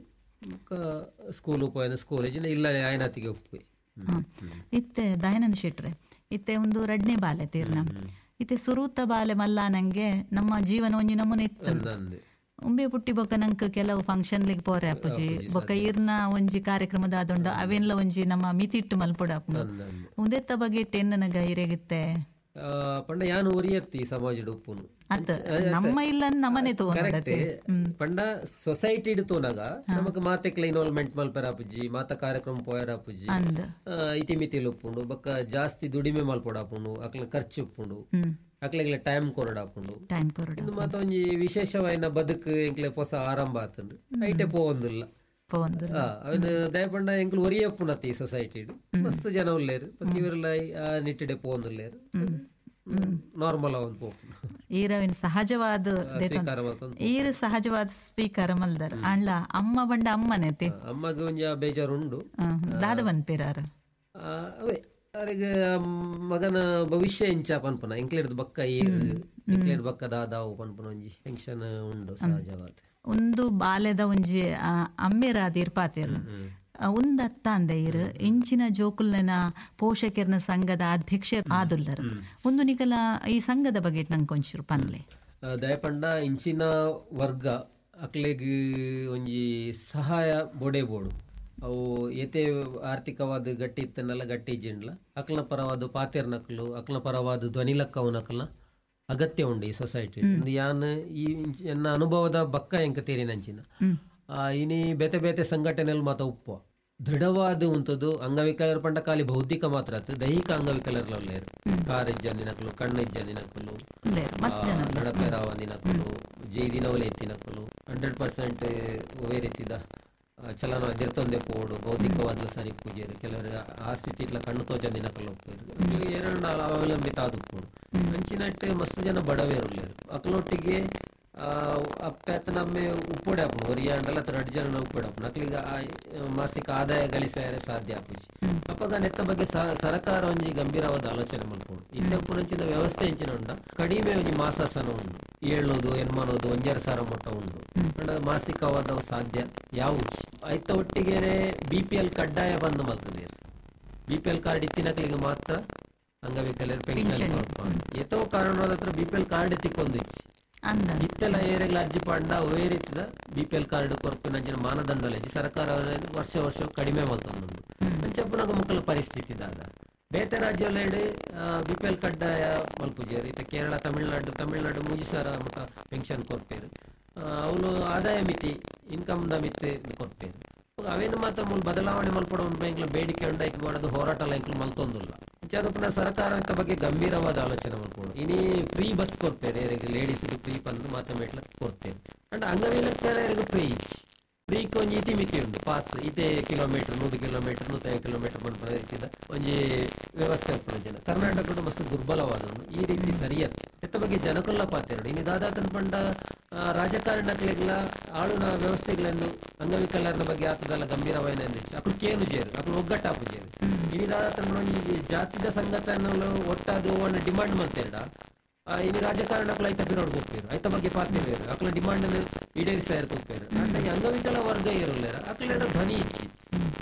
ಬೊಕ್ಕ ಸ್ಕೂಲ್ ಉಪಯೋಗ ಸ್ಕೂಲ್ ಇಲ್ಲ ಆಯನಾತಿಗೆ ಒಪ್ಪುವೆ. ಇತ್ತೆ ದಯಾನಂದ ಶೆಟ್ರೆ ಇತ್ತೆ ಒಂದು ರಡ್ನೇ ಬಾಲೆ ತೀರ್ನ ಇತ್ತೆ ಸುರೂತ ಬಾಲೆ ಮಲ್ಲ ನಂಗೆ ನಮ್ಮ ಜೀವನ ಒಂಜಿ ನಮೂನೆ ಇತ್ತು. ಉಂಬೆ ಪುಟ್ಟಿ ಬೊಕ್ಕ ನಂಕ್ ಕೆಲವು ಫಂಕ್ಷನ್ ಲಿಗ್ ಪೋರೆ ಅಪ್ಪುಜಿ ಬೊಕ್ಕ ಈರ್ನ ಒಂಜಿ ಕಾರ್ಯಕ್ರಮದ ಆದೊಂಡ ಅವೆಲ್ಲ ಒಂಜಿ ನಮ್ಮ ಮಿತಿಟ್ಟು ಮಲ್ಪೊಡು ಅಪ್ಪು ಉಂದೆತ್ತ ಬಗ್ಗೆ ಎನ್ನನಗ ಇರೆಗಿತ್ತೆ ಪಂಡ ಯಾನು ಒರಿಯತ್ತಿ ಸಮಾಜದ ಉಪ್ಪುನು ಅತ್ತ ನಮ್ಮ ಇಲ್ಲ ನಮ್ಮನೆ ಕರೆಕ್ಟ್ ಪಂಡ ಸೊಸೈಟಿ ತೋನಾಗ ನಮಕ್ ಮಾತೆಕ್ಲ ಇನ್ವಾಲ್ವ್ಮೆಂಟ್ ಮಲ್ಪೆರ ಅಪ್ಪುಜಿ ಮಾತ ಕಾರ್ಯಕ್ರಮ ಪೋಯರ ಅಪ್ಪುಜಿ ಇತಿಮಿತಿಲ್ ಉಪ್ಪುಂಡು ಬೊಕ್ಕ ಜಾಸ್ತಿ ದುಡಿಮೆ ಮಲ್ಪೊಡಾಪುಂಡು ಅಕ್ಲ ಖರ್ಚು ಉಪ್ಪುಂಡು ಅಕ್ಲೆಗ್ಲ ಟೈಮ್ ಕೊರಡಾಪುಂಡು ಟೈಮ್ ಕೊರಡ ಇಂದು ಮಾತ ಒಂಜಿ ವಿಶೇಷವಾಯಿನ ಬದುಕು ಎಂಕ್ಲೆ ಹೊಸ ಆರಂಭ ಆತುಂಡು ಐಟೆ ಪೋವೊಂದಿಲ್ಲ ಅವನು ದಯಪಂಡ ಎಂಕ್ಲು ಒರಿಯಪ್ಪುನತಿ ಈ ಸೊಸೈಟಿ ಮಸ್ತ್ ಜನ ಉಲ್ಲೇರು ಇವರೆಲ್ಲ ಆ ನಿಟ್ಟಿಡೆ ಪೋವೊಂದುಲ್ಲೇರು ನಾರ್ಮಲ್ ಒಂದು ಪೋಪುಂಡು. ಈರವಿನ ಸಹಜವಾದ ಈರು ಸಹಜವಾದ ಸ್ವೀಕಾರ ಮಲ್ದರ್ ಅಂಡ್ಲ ಅಮ್ಮ ಬಂಡ ಅಮ್ಮನೇತಿ ಅಮ್ಮಗೆ ಒಂಜಿ ಬೇಜಾರುಂಡು ದಾದ ಬಂದ್ಪಿರಾರ ಅವೇ ಅವರಿಗೆ ಮಗನ ಭವಿಷ್ಯ ಇಂಚ ಪನ್ಪುನ ಎಂಕ್ಲೇರ್ದ ಬಕ್ಕ ಏರು ಎಂಕ್ಲೇರ್ ಬಕ್ಕ ದಾದಾವು ಪನ್ಪುನ ಒಂಜಿ ಟೆನ್ಷನ್ ಉಂಡು ಸಹಜವಾದ. ಒಂದು ಬಾಲ್ಯದ ಒಂಜಿ ಅಮ್ಮೇರಾದ ಇರ್ಪಾತೇರು ಒಂದತ್ತ ಅಂದ ಇರು ಇಂಚಿನ ಜೋಕುಲ್ನ ಪೋಷಕರ್ನ ಸಂಘದ ಅಧ್ಯಕ್ಷ ಆದುಲ್ಲರು ಒಂದು ನಿಕಲ ಈ ಸಂಘದ ಬಗ್ಗೆ ನಂಗೆ ಒಂಚೂರು ಪನ್ಲೆ. ದಯಪಂಡ ಇಂಚಿನ ವರ್ಗ ಅಕ್ಲೆಗ್ ಒಂಜಿ ಸಹಾಯ ಬೋಡೆ ಬೋಡು ಅವು ಏತೆ ಆರ್ಥಿಕವಾದ ಗಟ್ಟಿ ಇತ್ತನ್ನೆಲ್ಲ ಗಟ್ಟಿ ಇಜ್ಜಿಂಡ್ಲ ಅಕ್ಲನ ಪರವಾದ ಪಾತೆರ್ನಕ್ಲು ಅಕ್ಲನ ಪರವಾದ ಧ್ವನಿಲಕ್ಕವನಕ್ಲನ ಅಗತ್ಯ ಉಂಡು ಈ ಸೊಸೈಟಿ. ಯಾನ್ ಈ ಎನ್ನ ಅನುಭವದ ಬಕ್ಕ ಎಂಕ ತೇರಿನಂಚಿನ ಇನಿ ಬೇತೆ ಬೇತೆ ಸಂಘಟನೆಯಲ್ಲಿ ಮಾತ ಉಪ್ಪು ದೃಢವಾದ ಉಂಟದು ಅಂಗವಿಕಲರ ಪಂಡ ಖಾಲಿ ಬೌದ್ಧಿಕ ಮಾತ್ರ ಆತು ದೈಹಿಕ ಅಂಗವಿಕಲರ್ಲ ಕಾರ್ ಇಜ್ಜಂದಿನಕಲು ಕಣ್ಣು ಇಜ್ಜಂದಿನಕಲು ನಡಪೆರಾವಂದಿನಕಲು ಜೈದಿನವಲೆ ಎತ್ತಿನಕಲು ಹಂಡ್ರೆಡ್ ಪರ್ಸೆಂಟ್ ಒವೇ ರೀತಿದ ಚಲನ ಎದಿರ್ತೊಂದೇ ಪೋಡು ಬೌದ್ಧಿಕವಾದ ಸರಿ ಪೂಜೆರು ಕೆಲವರು ಆ ಸ್ಥಿತಿ ಇట్లా ಕಣ್ಣು ತೋಜಂದಿನಕಲು ಒಪ್ಪೇರು ಎರಡು ಅವಲಂಬಿತ ಆದ ಉಪ್ಪೋಡು ಅಂಚಿನಟ್ಟು ಮಸ್ತ್ ಜನ ಬಡವೇರುಲ್ಲೇರು ಅಕ್ಲೊಟ್ಟಿಗೆ ಅಪ್ಪೆ ನಮ್ಮೆ ಉಪ್ಪೊಡೆ ಆಪುಂಡು ಒರಿಯ ಅಂಡಲ ರಡ್ಡು ಜನ ಉಪ್ಪೊಡೆ ಆಪುಂಡು ಅಕ್ಲಿಗೆ ಮಾಸಿಕ ಆದಾಯ ಗಳಿಸಾಯರೆ ಸಾಧ್ಯ ಆಪುಜಿ. ಅಪಗ ನೆತ್ತ ಬಗ್ಗೆ ಸರಕಾರ ಒಂಜಿ ಗಂಭೀರವಾದ ಆಲೋಚನೆ ಮಲ್ಪೊಡು. ಇತ್ತೆ ಉಪ್ಪುನಂಚಿನ ವ್ಯವಸ್ಥೆ ಎಂಚಿನ ಉಂಡ ಕಡಿಮೆ ಒಂಜಿ ಮಾಸಾಸನ ಉಂಡು ಏಳ್ನೂದು ಎನ್ಮನೋದು ಒಂಜರ ಸಾವಿರ ಮೊಟ್ಟ ಉಂಡು ಅಂಡ ಮಾಸಿಕವಾದ ಸಾಧ್ಯ ಯಾವುಜಿ. ಐತ ಒಟ್ಟಿಗೆ ಬಿ ಪಿ ಎಲ್ ಕಡ್ಡಾಯ ಬಂದ್ ಮಲ್ತದೆ. ಬಿ ಪಿ ಎಲ್ ಕಾರ್ಡ್ ಇತ್ತಿನಕ್ಲಿಗೆ ಮಾತ್ರ ಅಂಗವಿಕಲರು ಪೆನ್ಷನ್ ಕೊರ್ಪ ಏತೋ ಕಾರಣದ ಹತ್ರ ಬಿ ಪಿ ಎಲ್ ಕಾರ್ಡ್ ತಿಕ್ಕೊಂದು ಇಚ್ಚಿ ಇತ್ತೆಲ್ಲ ಏರೆಗ್ಲ ಅರ್ಜಿ ಪಂಡ ಅವೇ ರೀತಿದ ಬಿ ಪಿ ಎಲ್ ಕಾರ್ಡ್ ಕೊರ್ಪಿನ ಮಾನದಂಡ ಸರ್ಕಾರ ವರ್ಷ ವರ್ಷ ಕಡಿಮೆ ಮಲ್ತೊಂದುಂಡು ಅಂಚಪ್ಪುನಗ ಮುಕ್ಕಲ ಪರಿಸ್ಥಿತಿ ದಾದ ಬೇತೆ ರಾಜ್ಯಲೆಡ್ ಬಿ ಪಿ ಎಲ್ ಕಡ್ಡಾಯ ಮಲ್ಪುಜೆರ್. ಇತ್ತೆ ಕೇರಳ ತಮಿಳ್ನಾಡು ತಮಿಳ್ನಾಡು ಮೂಜಿ ಸಾವಿರ ಮುಟ್ಟ ಪೆನ್ಷನ್ ಕೊರ್ಪೇರು. ಅವನು ಆದಾಯ ಮಿತಿ ಇನ್ಕಮ್ದ ಮಿತಿ ಕೊಡ್ತೇನೆ. ಅವೇನು ಮಾತ್ರ ಮೂಲ ಬದಲಾವಣೆ ಮಲ್ಪಡ ಒಂದು ಬೇಡಿಕೆ ಉಂಡಾಯ್ತು ಮಾಡೋದು ಹೋರಾಟ ಎಂಕ್ಲು ಮಲ್ತೊಂದಿಲ್ಲ. ಪುನಃ ಸರ್ಕಾರ ಬಗ್ಗೆ ಗಂಭೀರವಾದ ಆಲೋಚನೆ ಮಾಡ್ಕೊಂಡು ಇನಿ ಫ್ರೀ ಬಸ್ ಕೊಡ್ತೇನೆ, ಲೇಡೀಸ್ಗೆ ಫ್ರೀ ಬಂದು ಮಾತ್ರ ಮೇಟ್ಲ ಕೊಡ್ತೇನೆ. ಅಂಡ್ ಅಂಗವಿಕಲರಿಗೆ ಫ್ರೀ ಫ್ರೀ ಒಂಜಿ ಇತಿ ಮಿತಿ ಉಂಟು, ಪಾಸ್ ಇದೇ ಕಿಲೋಮೀಟರ್ ನೂರು ಕಿಲೋಮೀಟರ್ ನೂತೈದು ಕಿಲೋಮೀಟರ್ ಪನ್ಪುನ ರೀತಿದ ಒಂಜಿ ವ್ಯವಸ್ಥೆ ಉಪ್ಪುನ ಜನ ಕರ್ನಾಟಕದ ಮಸ್ತ್ ದುರ್ಬಲವಾದ ಈ ರೀತಿ ಸರಿಯತ್ತೆ. ಎತ್ತ ಬಗ್ಗೆ ಜನಕುಲ್ಲ ಪಾತೆರಡು ಇನ್ನು ದಾದಾತನ್ ಪಂಡ ರಾಜಕಾರಣಕ್ಲೆಗ್ಲ ಆಳುನ ವ್ಯವಸ್ಥೆಗಳನ್ನು ಅಂಗವಿಕಲರನ ಬಗ್ಗೆ ಆತದಲ್ಲ ಗಂಭೀರವಾದ ಅಕ್ಲು ಕೇನು ಜೇರು ಅಕ್ಲು ಒಗ್ಗಟ್ಟಾಪು ಜೇರು. ಇನ್ನು ದಾದಾತನ್ ಒಂಜಿ ಜಾತಿದ ಸಂಘಟನೆ ಒಟ್ಟಾದ ಡಿಮಾಂಡ್ ಮಾಡ್ತೇಡ ಇನ್ನು ರಾಜಕಾರಣಕ್ಕೂ ಐತ ಬಿರೋಡ್ ಹೋಗ್ತೇರು ಐತ ಬಗ್ಗೆ ಪಾತಿರು ಅಕ್ಲ ಡಿಮಾಂಡ್ ಈಡೇರಿಸ್ತಾ ಇರ್ತೋಗ್ತೇರು. ಅಂಡ್ ಅಂಗವಿಕಲ ವರ್ಗ ಇರಲ್ಲ ಅಕ್ಲೇಡ ಧ್ವನಿ ಇಚ್ಚಿ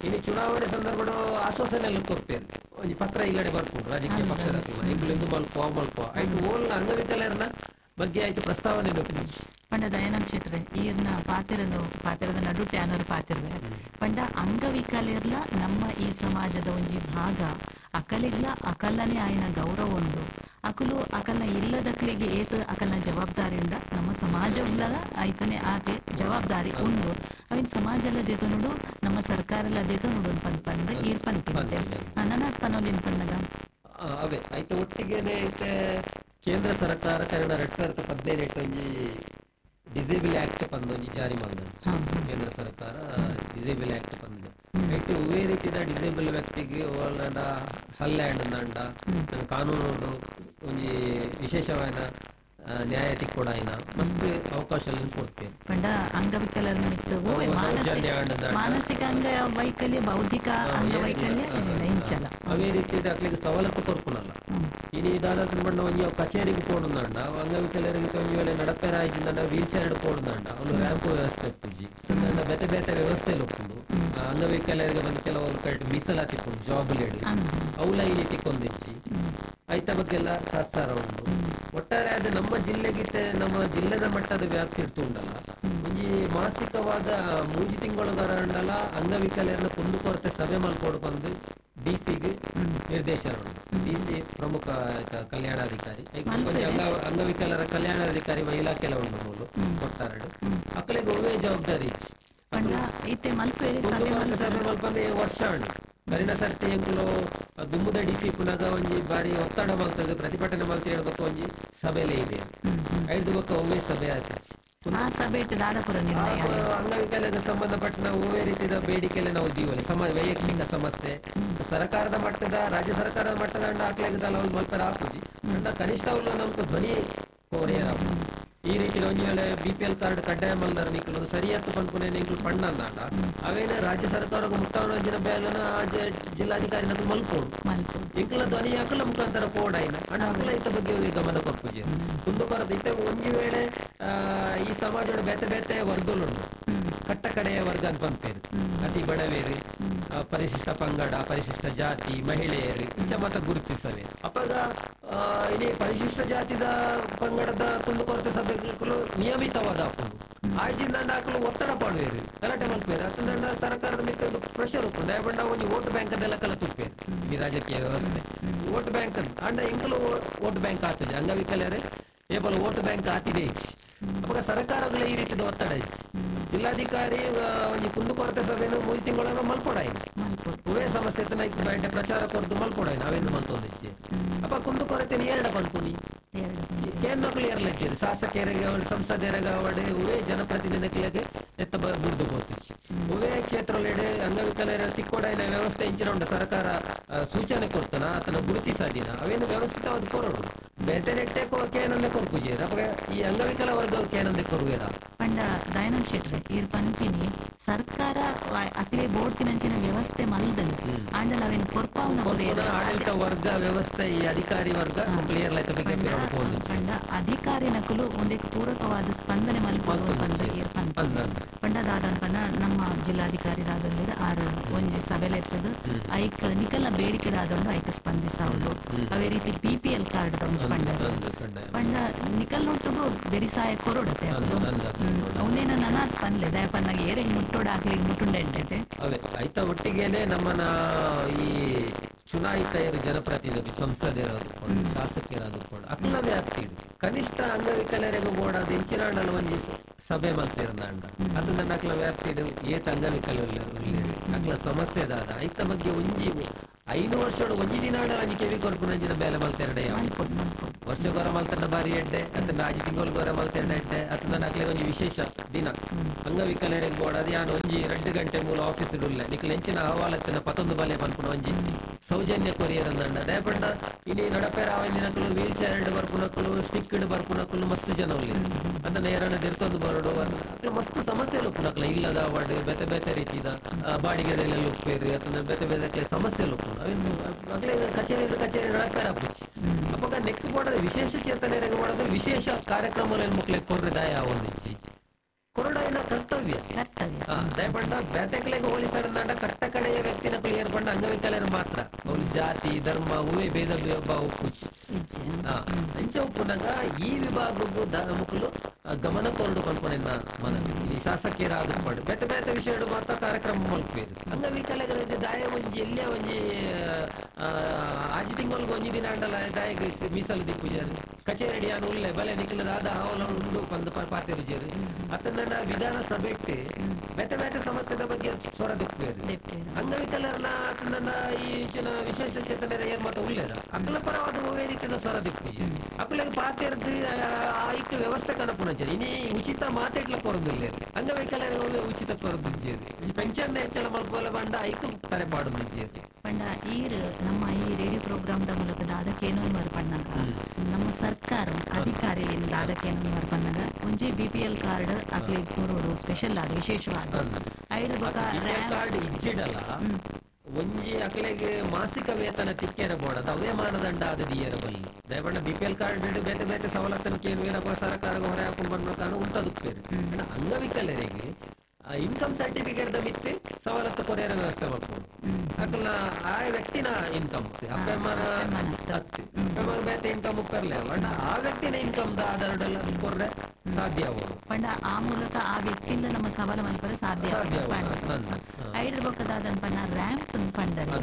ಇನ್ನು ಚುನಾವಣೆ ಸಂದರ್ಭ ಆಶ್ವಾಸನೆ ಎಲ್ಲ ಕೊಡ್ತೇವೆ, ಒಂಜಿ ಪತ್ರ ಇಲ್ಲಡೆ ಬರ್ಕೊಂಡು ರಾಜಕೀಯ ಪಕ್ಷದ ಇಂಗ್ಲು ಇದು ಮಲ್ಪೋ ಮಲ್ಪೋ ಆಯ್ತು ಓಲ್ ಅಂಗವಿಕಲರನ್ನ ಬಗ್ಗೆ ಆಯ್ತು ಪ್ರಸ್ತಾವನೆ. ಪಂಡ ದಯಾನಂದ ಶೆಟ್ರೆ ಈರ್ನ ಪಾತಿರನು ಪಾತಿರದ ನಡುಟೆ ಅನರು ಪಾತಿರ್ವೆ ಪಂಡ ಅಂಗವಿಕಲರ್ಲ ನಮ್ಮ ಈ ಸಮಾಜದ ಒಂಜಿ ಭಾಗ, ಅಕಲಿಗ್ಲ ಅಕಲ್ಲನೆ ಆಯ್ನ ಗೌರವ ಉಂಡು, ಅಕಲು ಅಕಲ್ನ ಇಲ್ಲದಕ್ಲಿಗೆ ಏತ ಅಕಲ್ನ ಜವಾಬ್ದಾರಿಯಿಂದ ನಮ್ಮ ಸಮಾಜ ಆಯ್ತಾನೆ ಆಕೆ ಜವಾಬ್ದಾರಿ ಉಂಡು. ಅವಿನ ಸಮಾಜ ಎಲ್ಲ ದೇತ ನೋಡು ನಮ್ಮ ಸರ್ಕಾರ ಎಲ್ಲ ದೇತ ನೋಡು ಪಂದ್ ಈರ್ ಪಂಪಿಂತೆ ನನ್ನ ಪನೋಲಿನ್ ಪನ್ನಗ ಅವೇ ಆಯ್ತು. ಒಟ್ಟಿಗೆನೆ ಐತೆ ಕೇಂದ್ರ ಸರ್ಕಾರ ಕನ್ನಡ ಎರಡ್ ಸಾವಿರದ ಹದಿನೈದು ಒಂಜಿ ಡಿಸೇಬಲ್ ಆಕ್ಟ್ ಪಂದೊಂಜಿ ಜಾರಿ ಮಾಡಿದ ಕೇಂದ್ರ ಸರ್ಕಾರ ಡಿಸೇಬಲ್ ಆಕ್ಟ್ ಬಂದಿದೆ. ಐತೆ ಒವ್ವೇ ರೀತಿಯ ಡಿಸೇಬಲ್ ವ್ಯಕ್ತಿಗೆ ಓಲ್ನಾಂಡ ಹಲ್ಲೆ ಅಂಡ ಕಾನೂನು ಒಂಜಿ ವಿಶೇಷವಾದ ನ್ಯಾಯ ತಿಕ್ಕೊಡಾಯಿನ ಮಸ್ತ್ ಅವಕಾಶ ಕೊಡ್ತೇವೆ. ಪಂಡ ಅಂಗವಿಕಲರ ಮಾನಸಿಕ ಅಂಗವೈಕಲ್ಯ ಬೌದ್ಧಿಕ ಅಂಗವೈಕಲ್ಯ ಇಂಚಲ ಅವೇ ರೀತಿ ಅಕ್ಲಿಗೆ ಸವಲತ್ತು ಕೊರ್ಪುನಲ್ಲ. ಇನಿ ದಾದಾತ್ರ ಪಂಡ ಒಂಜಿ ಕಚೇರಿಗೆ ಪೋಡುಂಡ ಅಂಗವಿಕಲರಿಗೆ ಒಂಜಿ ವೇಳೆ ನಡಪೆರ ಆಯ್ತಿಂದ ವೀಲ್ ಚೇರ್ ಪೋಡುಂಡ ಅವ್ನು ರ್ಯಾಂಪ್ ವ್ಯವಸ್ಥೆ ಇಪ್ಪುಜಿ ಬೇತೆ ಬೇತೆ ವ್ಯವಸ್ಥೆ ಉಪ್ಪುಂಡು. ಅಂಗವಿಕಲರಿಗೆ ಬಂದು ಕೆಲವರು ಕರೆಕ್ಟ್ ಮೀಸಲಾತಿ ಇಪ್ಪುಂಡು ಜಾಬ್ ಲೇಡಿ ಅವಲ ಈ ರೀತಿ ಕೊಂದಿಚ್ಚಿ ಐತ ಬಗ್ಗೆ ಎಲ್ಲ ತಾತ್ಸಾರ ಉಂಟು. ಒಟ್ಟಾರೆ ಅದು ನಮ್ಮ ಜಿಲ್ಲೆಗಿತ್ತೆ ನಮ್ಮ ಜಿಲ್ಲೆದ ಮಟ್ಟದ ವ್ಯಾಪ್ತಿ ಇಡ್ತು ಉಂಡಲ್ಲ ಒಂಜಿ ಮಾಸಿಕವಾದ ಮೂಜಿ ತಿಂಗಳುಗರಂಡಲ ಅಂಗವಿಕಲರನ್ನ ಕುಂದುಕೊರತೆ ಸಭೆ ಮಲ್ಕೊಡು ಬಂದು ಡಿ ಸಿಗೆ ನಿರ್ದೇಶನ ಉಂಟು. ಡಿ ಸಿ ಪ್ರಮುಖ ಕಲ್ಯಾಣಾಧಿಕಾರಿ ಅಂಗವಿಕಲರ ಕಲ್ಯಾಣಾಧಿಕಾರಿ ಇಲಾಖೆಲ್ಲ ಉಂಟು ಮೂಲು ಕೊಟ್ಟಾರೆ ಅಕ್ಕಲಿಗೆ ಒವ್ವೇ ಜವಾಬ್ದಾರಿ ಸಭೆ ಮಲ್ಪಂದ್ರೆ ವರ್ಷ ಉಂಟು. ಕರಿನ ಸರ್ತಿ ಎಂಕುಲು ದುಂಬುದ ಡಿ ಸಿ ಪುನಗ ಒಂಜಿ ಬಾರಿ ಒತ್ತಡ ಮಲ್ತದೆ ಪ್ರತಿಭಟನೆ ಮಲ್ತ ಹೇಳ್ಬೇಕು ಒಂಜಿ ಸಭೆಲೇ ಇದೆ ಐದು ಬೊಕ್ಕ ಒಮ್ಮೆ ಸಭೆ ಆಯ್ತು. ಅಂಗವಿಕಲಕ್ಕೆ ಸಂಬಂಧಪಟ್ಟ ಒವ್ವೇ ರೀತಿಯ ಬೇಡಿಕೆಲ್ಲ ನಾವು ದೀವಲ್ಲಿ ಸಮ ವೈಯಕ್ತಿಕ ಸಮಸ್ಯೆ ಸರ್ಕಾರದ ಮಟ್ಟದ ರಾಜ್ಯ ಸರ್ಕಾರದ ಮಟ್ಟದ ಅಂಡ ಹಾಕ್ಲಾಗದಲ್ಲ ಅವ್ರು ಮಲ್ಪರ ಹಾಕುಜಿ ಅಂಡ ಕನಿಷ್ಠ ಅವ್ರು ನಮ್ಗೆ ಧ್ವನಿ ಕೋರಿಯರ್ ಈ ರೀತಿ ಒಂಜಿ ವೇಳೆ ಬಿ ಪಿ ಎಲ್ ಕಾರ್ಡ್ ಕಡ್ಡಾಯ ಮಲ್ದಾರ ನಿಕ್ಕಲು ಸರಿಯಾದ ಪನ್ಪುನೆ ನಿಂಕುಲು ಪಣ್ಣ ಅಂದಾಂಡ ಅವೇನ ರಾಜ್ಯ ಸರ್ಕಾರದ ಮುಕ್ತಾವನ ಬೇಲನ ಜಿಲ್ಲಾಧಿಕಾರಿ ನಕ್ಲು ಮಲ್ಪೋಡು ಇಂಕುಲ ಧ್ವನಿ ಹಾಕಲ ಮುಖಾಂತರ ಪೋಡಾಯಿನ ಅಂಡ ಅಕಲ ಇತ್ತ ಬಗ್ಗೆ ಗಮನ ಕೊರ್ಪುಜಿ ಕುಂದುಕೊರತೆ ಇತ್ತ ಒಂಜಿ ವೇಳೆ ಈ ಸಮಾಜದ ಬೇತೆ ಬೇತೆ ವರ್ಗಲುಂಡು ಕಟ್ಟ ಕಡೆಯ ವರ್ಗ ಅಂತ ಪಂಪೇರು ಅತಿ ಬಡವೇರು ಪರಿಶಿಷ್ಟ ಪಂಗಡ ಪರಿಶಿಷ್ಟ ಜಾತಿ ಮಹಿಳೆಯರು ಇಂಚ ಮತ ಗುರುತಿಸವೆ. ಅಪ್ಪಾಗ ಇನಿ ಪರಿಶಿಷ್ಟ ಜಾತಿದ ಪಂಗಡದ ಕುಂದುಕೊರತೆ ಸಭೆಗಳು ನಿಯಮಿತವಾದ ಹಾಕೊಂಡು ಆಯ್ಚಿಂದ ಹಾಕಲು ಒತ್ತಡ ಪಾಡುವೇರು ಗಲಾಟೆ ಮಲ್ಪೇರು ಅತ್ತಂದ ಸರ್ಕಾರದ ಮಿಕ್ಕ ಪ್ರೆಷರ್ ಉಪ್ಪುಂಡು ದಯಪಂಡ ಒಂಜಿ ವೋಟ್ ಬ್ಯಾಂಕ್ ಅದೆಲ್ಲ ಕಲ ತುಪ್ಪೇರು ಈ ರಾಜಕೀಯ ವ್ಯವಸ್ಥೆ ವೋಟ್ ಬ್ಯಾಂಕ್ ಅಂತ ಅಂಡ ಇಂಕಲು ವೋಟ್ ಬ್ಯಾಂಕ್ ಆತದೆ ಅಂಗವಿಕಲರೇ ಏಪಲ ವೋಟ್ ಬ್ಯಾಂಕ್ ಆತಿದೆ ಇಚ್ಚಿ ಅವಾಗ ಸರ್ಕಾರಗಳ ಈ ರೀತಿಯ ಒತ್ತಡ ಇಚ್ಚಿ ಜಿಲ್ಲಾಧಿಕಾರಿ ಒಂಜಿ ಕುಂದುಕೊರತೆ ಸಭೆಯನ್ನು ಮೂರು ತಿಂಗಳನ್ನು ಮಲ್ಪೊಡಾಯಿನ ಒವೇ ಸಮಸ್ಯೆ ಇತ್ತು ಪ್ರಚಾರ ಕೊರದು ಮಲ್ಪೊಡಾಯಿನ ಅವೇನು ಮಲ್ತೊಂದಿಚ್ಚಿ ಅಪ್ಪ ಕುಂದುಕೊರತೆ ಎರಡ ಪನ್ಪುನಿ ಕೇಂದ್ರಗಳು ಎರಲಿದ್ದೀರಿ ಶಾಸಕರಿಗೆ ಸಂಸದರಿಗೆ ಅವಡೆ ಒವೇ ಜನಪ್ರತಿನಿಧಿಗಳಿಗೆ ಎತ್ತ ಬುರ್ದು ಪೋತಿಚ್ಚಿ ಒವೇ ಕ್ಷೇತ್ರಲೆಡೆ ಅಂಗವಿಕಲರ ತಿಕ್ಕೊಡಾಯಿನ ವ್ಯವಸ್ಥೆ ಇಂಚಿನ ಉಂಡು ಸರ್ಕಾರ ಸೂಚನೆ ಕೊಡ್ತಾನ ಆತನ ಗುರುತಿಸಾದಿನ ಅವೇನು ವ್ಯವಸ್ಥಿತವಾದ ಕೊರಡು ಬೇತೆ ನೆಟ್ಟೆ ಕೇನಂದೆ ಕೊರ್ಪುಜಿ ಅಪ್ಪ ಈ ಅಂಗವಿಕಲ ವರ್ಗ ಕೇನಂದೆ ಕೊರುವೇರ. ಪಂಡ ದಯಾನಂದ ಶೆಟ್ರೆ ಈರ್ ಪಂಚಿನಿ ಸರ್ಕಾರ ಅಕ್ಲೆ ಬೋರ್ಡ್ ವ್ಯವಸ್ಥೆ ಮಲ್ದನು ಆಂಡಲ ಅವೇನು ಕೊರ್ಪಾವುನ ಆಡಳಿತ ವರ್ಗ ವ್ಯವಸ್ಥೆ ಈ ಅಧಿಕಾರಿ ವರ್ಗ ಕ್ಲಿಯರ್ ಪಂಡ ಅಧಿಕಾರಿ ನಕಲು ಒಂದಕ್ಕೆ ಪೂರಕವಾದ ಸ್ಪಂದನೆ ಮಲ್ಪೊಡು ಪಂಡ ಈರ್ ಪಂಡ ಪಂಡ ದಾದನ್ ಪಂಡ ನಮ್ಮ ಜಿಲ್ಲಾಧಿಕಾರಿ ದಾದಂದ್ರೆ ಆರು ಒಂಜಿ ಸಭೆಲೆತ್ತದು ಐಕ್ ನಿಕಲ್ನ ಬೇಡಿಕೆ ದಾದಂಡು ಐಕ್ ಸ್ಪಂದಿಸಾವುದು. ಅವೇ ರೀತಿ ಬಿ ಪಿ ಎಲ್ ಕಾರ್ಡ್ ಪಂಡ ಪಂಡ ನಿಕಲ್ ನೊಟ್ಟುಗು ಬೆರಿಸಾಯ ಕೊರೊಡತೆ ಅವನೇನ ನನಾತ್ ಪನ್ಲೆ ದಯಪನ್ನಾಗ ಏರೆಗ್ ಮುಟ್ಟೋಡ ಹಾಕ್ಲಿಗೆ ಮುಟ್ಟುಂಡೆ ಅವೇ ಐತ ಒಟ್ಟಿಗೆನೆ ನಮ್ಮನ ಈ ಚುನಾಯಿತ ಜನಪ್ರತಿನಿಧಿ ಸಂಸದರಾದುಕೊಂಡು ಶಾಸಕರಾದುಕೊಂಡು ಅಕ್ಲ ವ್ಯಾಪ್ತಿ ಕನಿಷ್ಠ ಅಂಗವಿಕಲರಿಗೂ ಬೋಡಾದ ಇಂಚಿನಾಂಡಲ ಒಂಜಿ ಸಭೆ ಮಲ್ತಿರಂದಾಂಡ ಅದು ನನ್ನ ಅಕ್ಲ ವ್ಯಾಪ್ತಿಡ್ ಏತ್ ಅಂಗವಿಕಲ ಅಕ್ಲ ಸಮಸ್ಯೆ ದಾದ ಐತ ಬಗ್ಗೆ ಒಂಜಿ ಐನು ವರ್ಷಡು ಒಂಜಿ ದಿನ ಅಂಜಿ ಕೆವಿ ಕೊರ್ಪುನಂಚಿನ ಬೇಲೆ ಮಲ್ತೆರಡೆ ವರ್ಷ ಗೊರ ಮಲ್ತನ ಬಾರಿ ಎಡ್ಡೆ ಅತ್ತ ಆಜಿ ತಿಂಗಳು ಗೊರ ಮಲ್ತೆರಡ ಎಡ್ಡೆ ಅತ್ತ ನನ್ನ ಅಕ್ಲೆ ಒಂಜಿ ವಿಶೇಷ ದಿನ ಅಂಗವಿಕಲರಿಗೆ ಬೋಡದು ಯಾನ್ ಒಂಜಿ ಎರಡು ಗಂಟೆ ಮೂಲ ಆಫೀಸ್ ಉಲ್ಲ ನಿಕ್ಲ ಎಂಚಿನ ಅಹವಾಲತ್ತಿನ ಪತ್ತೊಂದು ಬಲೆ ಪನ್ಪುನ ಒಂಜಿ ಸೌಜನ್ಯ ಕೊರಿಯರ್ ಅಂದಂಡ ದಯಪಂಡ ಇನಿ ನಡಪೇರ ಆವಂದಿನಕುಲು ವೀಲ್ ಚೇರ್ ಬರ್ಪುನಕುಲು ಸ್ಟಿಕ್ ಬರ್ಪುನಕುಲು ಮಸ್ತ್ ಜನ ಉಲ್ಲೆರ್ ಅದನ್ನ ಏರನ ದಿರ್ತೊಂದು ಬರೋಡು ಅಕ್ಲ ಮಸ್ತ್ ಸಮಸ್ಯೆ ಉಪ್ಪುನಕ್ಲ ಇಲ್ಲದ ವಾರ್ಡ್ ಬೇತೆ ಬೇತೆ ರೀತಿದ ಬಾಡಿಗೆದೆಲ್ಲ ಉಪ್ಪೇರು ಅಥವಾ ಬೇತೆ ಬೇತೆ ಸಮಸ್ಯೆ ಉಪ್ಪುನು ಅಕ್ಲೆ ಕಚೇರಿ ಕಚೇರಿ ನಡಪೇರ ಆಪುಜಿ ಅಪಗ ನೆಕ್ ಬೋಡದ ವಿಶೇಷ ಚೇತನರಿಗೆ ಬೋಡದ ವಿಶೇಷ ಕಾರ್ಯಕ್ರಮ ಮಕ್ಳಿಗೆ ಕೊರ್ರೆ ದಾಯ ಆವೊಂದಿಜ್ಜಿ ಕೊರಡಾಯಿನ ಕರ್ತವ್ಯ ದಯಪಂಡ ಬೇತೆಕ್ಲೆಗ್ ಹೋಲಿಸಡನಾಡ ಕಟ್ಟ ಕಡೆಯ ವ್ಯಕ್ತಿನ ಏರ್ಪಂಡ ಅಂಗವಿಕಲರು ಮಾತ್ರ ಅವ್ರು ಜಾತಿ ಧರ್ಮ ಹೂವೇ ಭೇದ ಭಾವ ಉಪ್ಪುಜಿ ಅಂಚ ಉಪ್ಪುನಾಗ ಈ ವಿಭಾಗಕ್ಕೂ ಮುಕ್ಕಲು ಗಮನ ಕೊರಡು ಪನ್ಪುನ ಮನವಿ ಈ ಶಾಸಕಿಯರ ಆದುಪಾಡು ಬೇತೆ ಬೇತೆ ವಿಷಯ ಮಾತ್ರ ಕಾರ್ಯಕ್ರಮ ಮಲ್ಪೇರು ಅಂಗವಿಕಲರಿಗೆ ದಾಯ ಒಂಜಿ ಎಲ್ಲೇ ಒಂಜಿ ಆಜಿ ತಿಂಗಳಿಗೆ ಒಂಜಿ ದಿನ ಅಂಡಲ ದಾಯಗ್ ಮೀಸಲು ದಿಪ್ಪುಜಾರು ಕಚೇರಿ ಯಾನು ಉಲ್ಲೆ ಬಲೆ ನಿಕ್ಲದ ಆದ ಹಾವಲ ಉಂಡು ಪಂದ್ ಪಾತೆರುಜೇರು ಅತನ್ನ ವಿಧಾನಸಭೆ ಬೇತೆ ಬೇತೆ ಸಮಸ್ಯೆದ ಬಗ್ಗೆ ಸ್ವರ ದಿಪ್ಪೇರು ಅಂಗವಿಕಲರ್ನ ಆತನ ಈ ವಿಶೇಷ ಚೇತನರ ಏರ್ ಮಾತ ಉಲ್ಲೇರ ಅಕ್ಲ ಪರವಾದ ಒವ್ವೇ ರೀತಿಯ ಸ್ವರ ದಿಪ್ಪುಜೇರು ಅಕ್ಲೆಗ್ ಪಾತೆರ್ದು ಆಯ್ಕೆ ವ್ಯವಸ್ಥೆ ಕನಪುನಂಚ ಇನಿ ಉಚಿತ ಮಾತೆಟ್ಲ ಕೊರದಿಲ್ಲ ಅಂಗವೈಕಲ್ಯರಿಗೆ ಉಚಿತ ಕೊರದಿಜ್ಜೇರು ಈ ಪೆನ್ಷನ್ ಹೆಚ್ಚಳ ಮಲ್ಪೋಲ ಬಂಡ ಐಕು ತರೆ ಪಾಡೊಂದಿಜ್ಜೇರು ಪಂಡ ಈರ್ ನಮ್ಮ ಈ ರೇಡಿಯೋ ಪ್ರೋಗ್ರಾಮ್ the ಮೂಲಕ ದಾದಕೇನೋ ಪಣ್ಣಾಗ ನಮ್ಮ ಸರ್ಕಾರ ಅಧಿಕಾರಿ ದಾದಕೇನೋ ಪಣ್ಣಾಗ ಒಂಜಿ ಬಿ ಪಿ ಎಲ್ ಕಾರ್ಡ್ ಅಕ್ಲೆ ಕೊರೋಡು ಸ್ಪೆಷಲ್ ಆದ ವಿಶೇಷವಾದ ಐದು ಬೊಕ ಕಾರ್ಡ್ ಇಜ್ಜಿಡಲ ಒಂಜಿ ಅಕ್ಲೆಗ್ ಮಾಸಿಕ ವೇತನ ತಿಕ್ಕೆರ ಬೋಡದ ಅವೇ ಮಾನದಂಡ ಆದ ದಿಯರ ಬಲ್ಲಿ ದಯಪಂಡ ಬಿ ಪಿ ಎಲ್ ಕಾರ್ಡ್ ಬೇತೆ ಬೇತೆ ಸವಲತ್ತನ ಕೇನು ಸರ್ಕಾರ ಹೊರೆ ಹಾಕೊಂಡು ಬಂದ ಕಾರಣ ಉಂಟದುಪ್ಪೇರು ಅಂಗವಿಕಲರಿಗೆ ಇನ್ಕಮ್ ಸರ್ಟಿಫಿಕೇಟ್ the ಮಿತ್ತೆ ಸವಲತ್ತು ಕೊರಿಯರ ವ್ಯವಸ್ಥೆ ಮಾಡ್ಕೊಂಡು ಅಕ್ಲ ಆ ವ್ಯಕ್ತಿನ ಇನ್ಕಮ್ ಅಪ್ಪಮ್ಮನ ಅಪ್ಪಮ್ಮನ ಬೇತೆ ಇನ್ಕಮ್ ಉಪ್ಪರ್ಲೆ ಬಟ್ ಆ ವ್ಯಕ್ತಿನ ಇನ್ಕಮ್ the ಆಧಾರದಲ್ಲಿ ಕೊರ್ರೆ ಸಾಧ್ಯ ಆಗೋದು ಪಂಡ ಆ ಮೂಲಕ ಆ ವ್ಯಕ್ತಿಯಿಂದ ನಮ್ಮ ಸವಾಲ ಮಲ್ಪರೆ ಸಾಧ್ಯ ಐದು ಬೊಕ್ಕದಾದ ಪನ್ನ ರ್ಯಾಂಪ್ ಪಂಡರೆ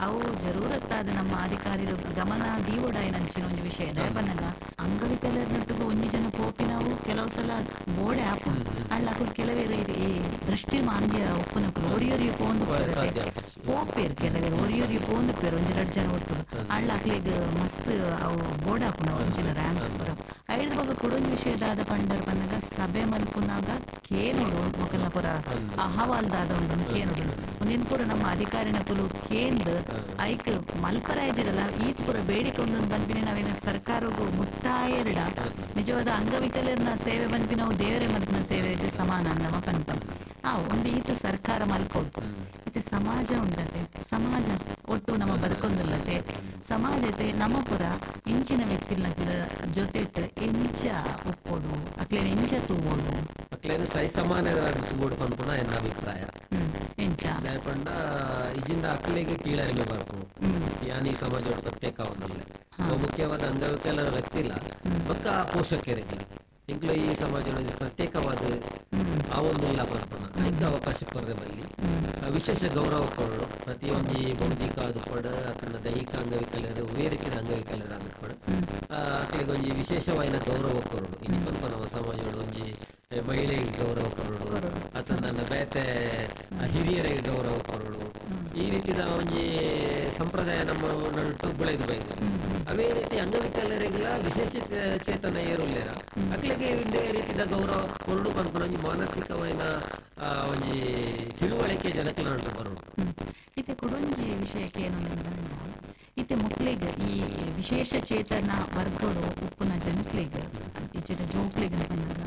ಅವು ಜರೂರತ್ತಾದ ನಮ್ಮ ಅಧಿಕಾರಿರು ಗಮನ ದೀವೊಡಾಯಿನಂಚಿನ ಒಂಜಿ ವಿಷಯ ದಯಪನ್ನಗ ಅಂಗವಿಕಲರ್ನೊಟ್ಟಿಗೆ ಒಂಜಿ ಜನ ಪೋಪಿನವು ಕೆಲವು ಸಲ ಬೋಡೆ ಆಪು ಅಳ್ಳ ಅಕುಲು ಕೆಲವೇರು ಈ ದೃಷ್ಟಿ ಮಾಂದ್ಯ ಉಪ್ಪುನಕುಲು ಒರಿಯೊರಿ ಪೋಂದು ಪೋಪೇರು ಕೆಲವೇರು ಒರಿಯೊರಿ ಪೋಂದು ಪೇರು ಒಂಜಿ ರಡ್ಡ್ ಜನ ಒಟ್ಟು ಅಳ್ಳ ಅಕ್ಲೆಗ್ ಮಸ್ತ್ ಅವು ಬೋರ್ಡ್ ಆಪುನ ಒಂಜಿನ ರ್ಯಾಂಪ್ ಪೂರ ಐದು ಬೊಕ್ಕ ಕುಡೊಂಜಿ ವಿಷಯದಾದ ಪಂಡರ್ ಪನ್ನಗ ಸಭೆ ಮಲ್ಪುನಾಗ ಕೇನೋಡು ಮೊಕಲ್ನ ಪೂರ ಅಹವಾಲ್ದಾದ ಉಂಡು ಕೇನೋಡು ಒಂದಿನ ಪೂರ ನಮ್ಮ ಅಧಿಕಾರಿನ ಕುಲು ಕೇಂದ್ ಐಕ್ ಮಲ್ಪರಾಯ್ಜಿರಲ್ಲ ಈತ್ ಪೂರ ಬೇಡಿಕೆ ಉಂಡು ಪನ್ಪಿನ ನಾವೇನ ಸರ್ಕಾರಗೂ ಮುಟ್ಟಾಯರ್ಡ ನಿಜವಾದ ಅಂಗವಿಕಲರ್ನ ಸೇವೆ ಪನ್ಪಿನವು ದೇವರೇ ಮಲ್ಪಿನ ಸೇವೆಗೆ ಸಮಾನ ನಮ್ಮ ಪನ್ಪ ಆ ಒಂದು ಈತ ಸರ್ಕಾರ ಮಲ್ಪೋಡು ಇತ್ತೆ ಸಮಾಜ ಉಂಡತೆ ಸಮಾಜ ಒಟ್ಟು ನಮ್ಮ ಬದುಕೊಂದಿಲ್ಲತೆ ಸಮಾಜತೆ ನಮ್ಮ ಪುರ ಇಂಚಿನ ವ್ಯಕ್ತಿಲ ಜೊತೆ ಎಂಚ ಒಪ್ಪೋಡು ಅಕ್ಲೇನ ಎಂಚ ತೂವೋಡು ಅಕ್ಲೇನ ಸರಿ ಸಮಾನ ತೂವೋಡು ಪನ್ಪುನ ಎನ್ನ ಅಭಿಪ್ರಾಯ ಎಂಚ ಪಂಡ ಇಜಿಂದ ಅಕ್ಲೆಗೆ ಕೀಳರಿಮೆ ಬರ್ಪು ಯಾನ್ ಈ ಸಮಾಜ ಪ್ರತ್ಯೇಕ ಒಂದಿಲ್ಲ ಮುಖ್ಯವಾದ ಅಂಗವಿಕಲರ ವ್ಯಕ್ತಿ ಇಲ್ಲ ಬೊಕ್ಕ ಪೋಷಕರಿಗೆ ಇಂಕ್ಲ ಈ ಸಮಾಜ ಪ್ರತ್ಯೇಕವಾದ ಆ ಒಂದುಲ್ಲ ಪನ್ಪುನ ಐಕ್ ಅವಕಾಶ ಕೊರ್ರೆ ಬಲ್ಲಿ ವಿಶೇಷ ಗೌರವ ಕೊರಡು ಪ್ರತಿಯೊಂದು ಬೌದ್ಧಿಕ ಆದುಪಡು ಅತನ ದೈಹಿಕ ಅಂಗವಿಕಲರು ಒವ್ವೇ ರೀತಿಯ ಅಂಗವಿಕಲರು ಆದುಪಡು ಅಕ್ಲೆಗ್ ಒಂಜಿ ವಿಶೇಷವಾಯಿನ ಗೌರವ ಕೊರಡು ಇನಿ ಪನ್ಪ ನಮ್ಮ ಸಮಾಜ ಒಂಜಿ ಮಹಿಳೆಗೆ ಗೌರವ ಕೊರಡು ಅಥವಾ ನನ್ನ ಬೇತೆ ಹಿರಿಯರಿಗೆ ಗೌರವ ಕೊರಡು ಈ ರೀತಿಯ ಒಂಜಿ ಸಂಪ್ರದಾಯ ನಮ್ಮ ನಡುಟು ಬೆಳೆದು ಬೈದು ಅದೇ ರೀತಿ ಅಂಗವಿಕಲರಿಗೆಲ್ಲ ವಿಶೇಷ ಚೇತನ ಏರುಲ್ಲೇರ ಅಕ್ಲೆಗೆ ಇದೇ ರೀತಿಯ ಗೌರವ ಕೊರಡು ಪನ್ಪುನ ಒಂಜಿ ಮಾನಸಿಕವಾಯಿನ ಒಂಜಿ ತಿಳುವಳಿಕೆ ಜನಕ್ಕೆ ನಡುಟು ಬರೋಡು ಇತ್ತೆ ಕುಡೊಂಜಿ ವಿಷಯಕ್ಕೆ ಏನು ಇತ್ತೆ ಮಕ್ಳಿಗೆ ಈ ವಿಶೇಷ ಚೇತನ ವರ್ಗಡು ಉಪ್ಪುನ ಜನಕ್ಲೆಗ್ ಇಚ್ಚಿನ ಜೋಕ್ಲೆಗ್ ಪನ್ನಗ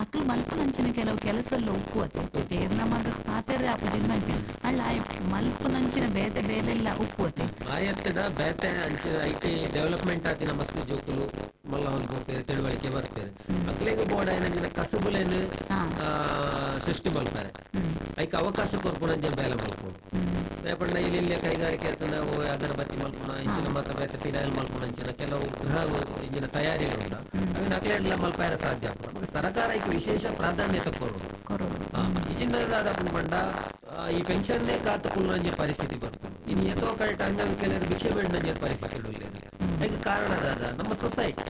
ಅಕ್ಲು ಮಲ್ಪುನಂಚಿನ ಕೆಲವು ಕೆಲಸಲ್ಲ ಉಪ್ಪುವತ್ತೆ ತೇರ್ನ ಮಗ ಪಾತೆರೆ ಆಪುಜಿನ ಮಲ್ಪಿನ ಅಳ್ಳ ಆಯ್ ಮಲ್ಪುನಂಚಿನ ಬೇತೆ ಬೇಲೆಲ್ಲ ಉಪ್ಪುವತ್ತೆ ಆಯತ್ತಡ ಬೇತೆ ಅಂಚಿನ I T development ಆತಿನ ಮಸ್ತ್ ಜೋಕುಲು ಮಲ್ಲ ಒಂದು ಪೋಪೇರು ತಿಳುವಳಿಕೆ ಬರ್ಪೇರು ಅಕ್ಲೆಗ್ ಬೋರ್ಡ್ ಆಯ್ನಂಚಿನ ಕಸುಬುಲೇನು ಸೃಷ್ಟಿ ಮಲ್ಪಾರೆ ಐಕ್ ಅವಕಾಶ ಕೊರ್ಪುನಂಚ ಬೇಲೆ ಮಲ್ಪುನು ಪಂಡ ಇಲ್ಲಿ ಇಲ್ಲೇ ಕೈಗಾರಿಕೆ ನಾವು ಅಗರಬತ್ತಿ ಮಲ್ಪುನ ಇಂಚಿನ ಮಾತ ಬೇತೆ ಪಿನಾಯಿಲ್ ಮಲ್ಪುನ ಅಂಚಿನ ಕೆಲವು ಗೃಹ ಇಂಚಿನ ತಯಾರಿಗಳು ಉಂಡ ಅವಿನ ಅಕ್ಲೆಡ್ಲ ಮಲ್ಪಾಯರ ಸಾಧ್ಯ ಆಪುಂಡು ಸರ್ಕಾರ ಐಕ್ ವಿಶೇಷ ಪ್ರಾಧಾನ್ಯತೆ ಕೊರಡು ಇಜಿನ ಪಂಡ ಈ ಪೆನ್ಷನ್ ಕಾತು ಕುಲ್ಲಂಜ ಪರಿಸ್ಥಿತಿ ಬರ್ತದೆ ಇನ್ನು ಎತ್ತೋ ಕರೆಕ್ಟ್ ಅಂಗವಿಕಲರು ಭಿಕ್ಷೆ ಬೇಡ ಪರಿಸ್ಥಿತಿ ಉಳ್ಳೇನು ಅದಕ್ಕೆ ಕಾರಣ ದಾದ ನಮ್ಮ ಸೊಸೈಟಿ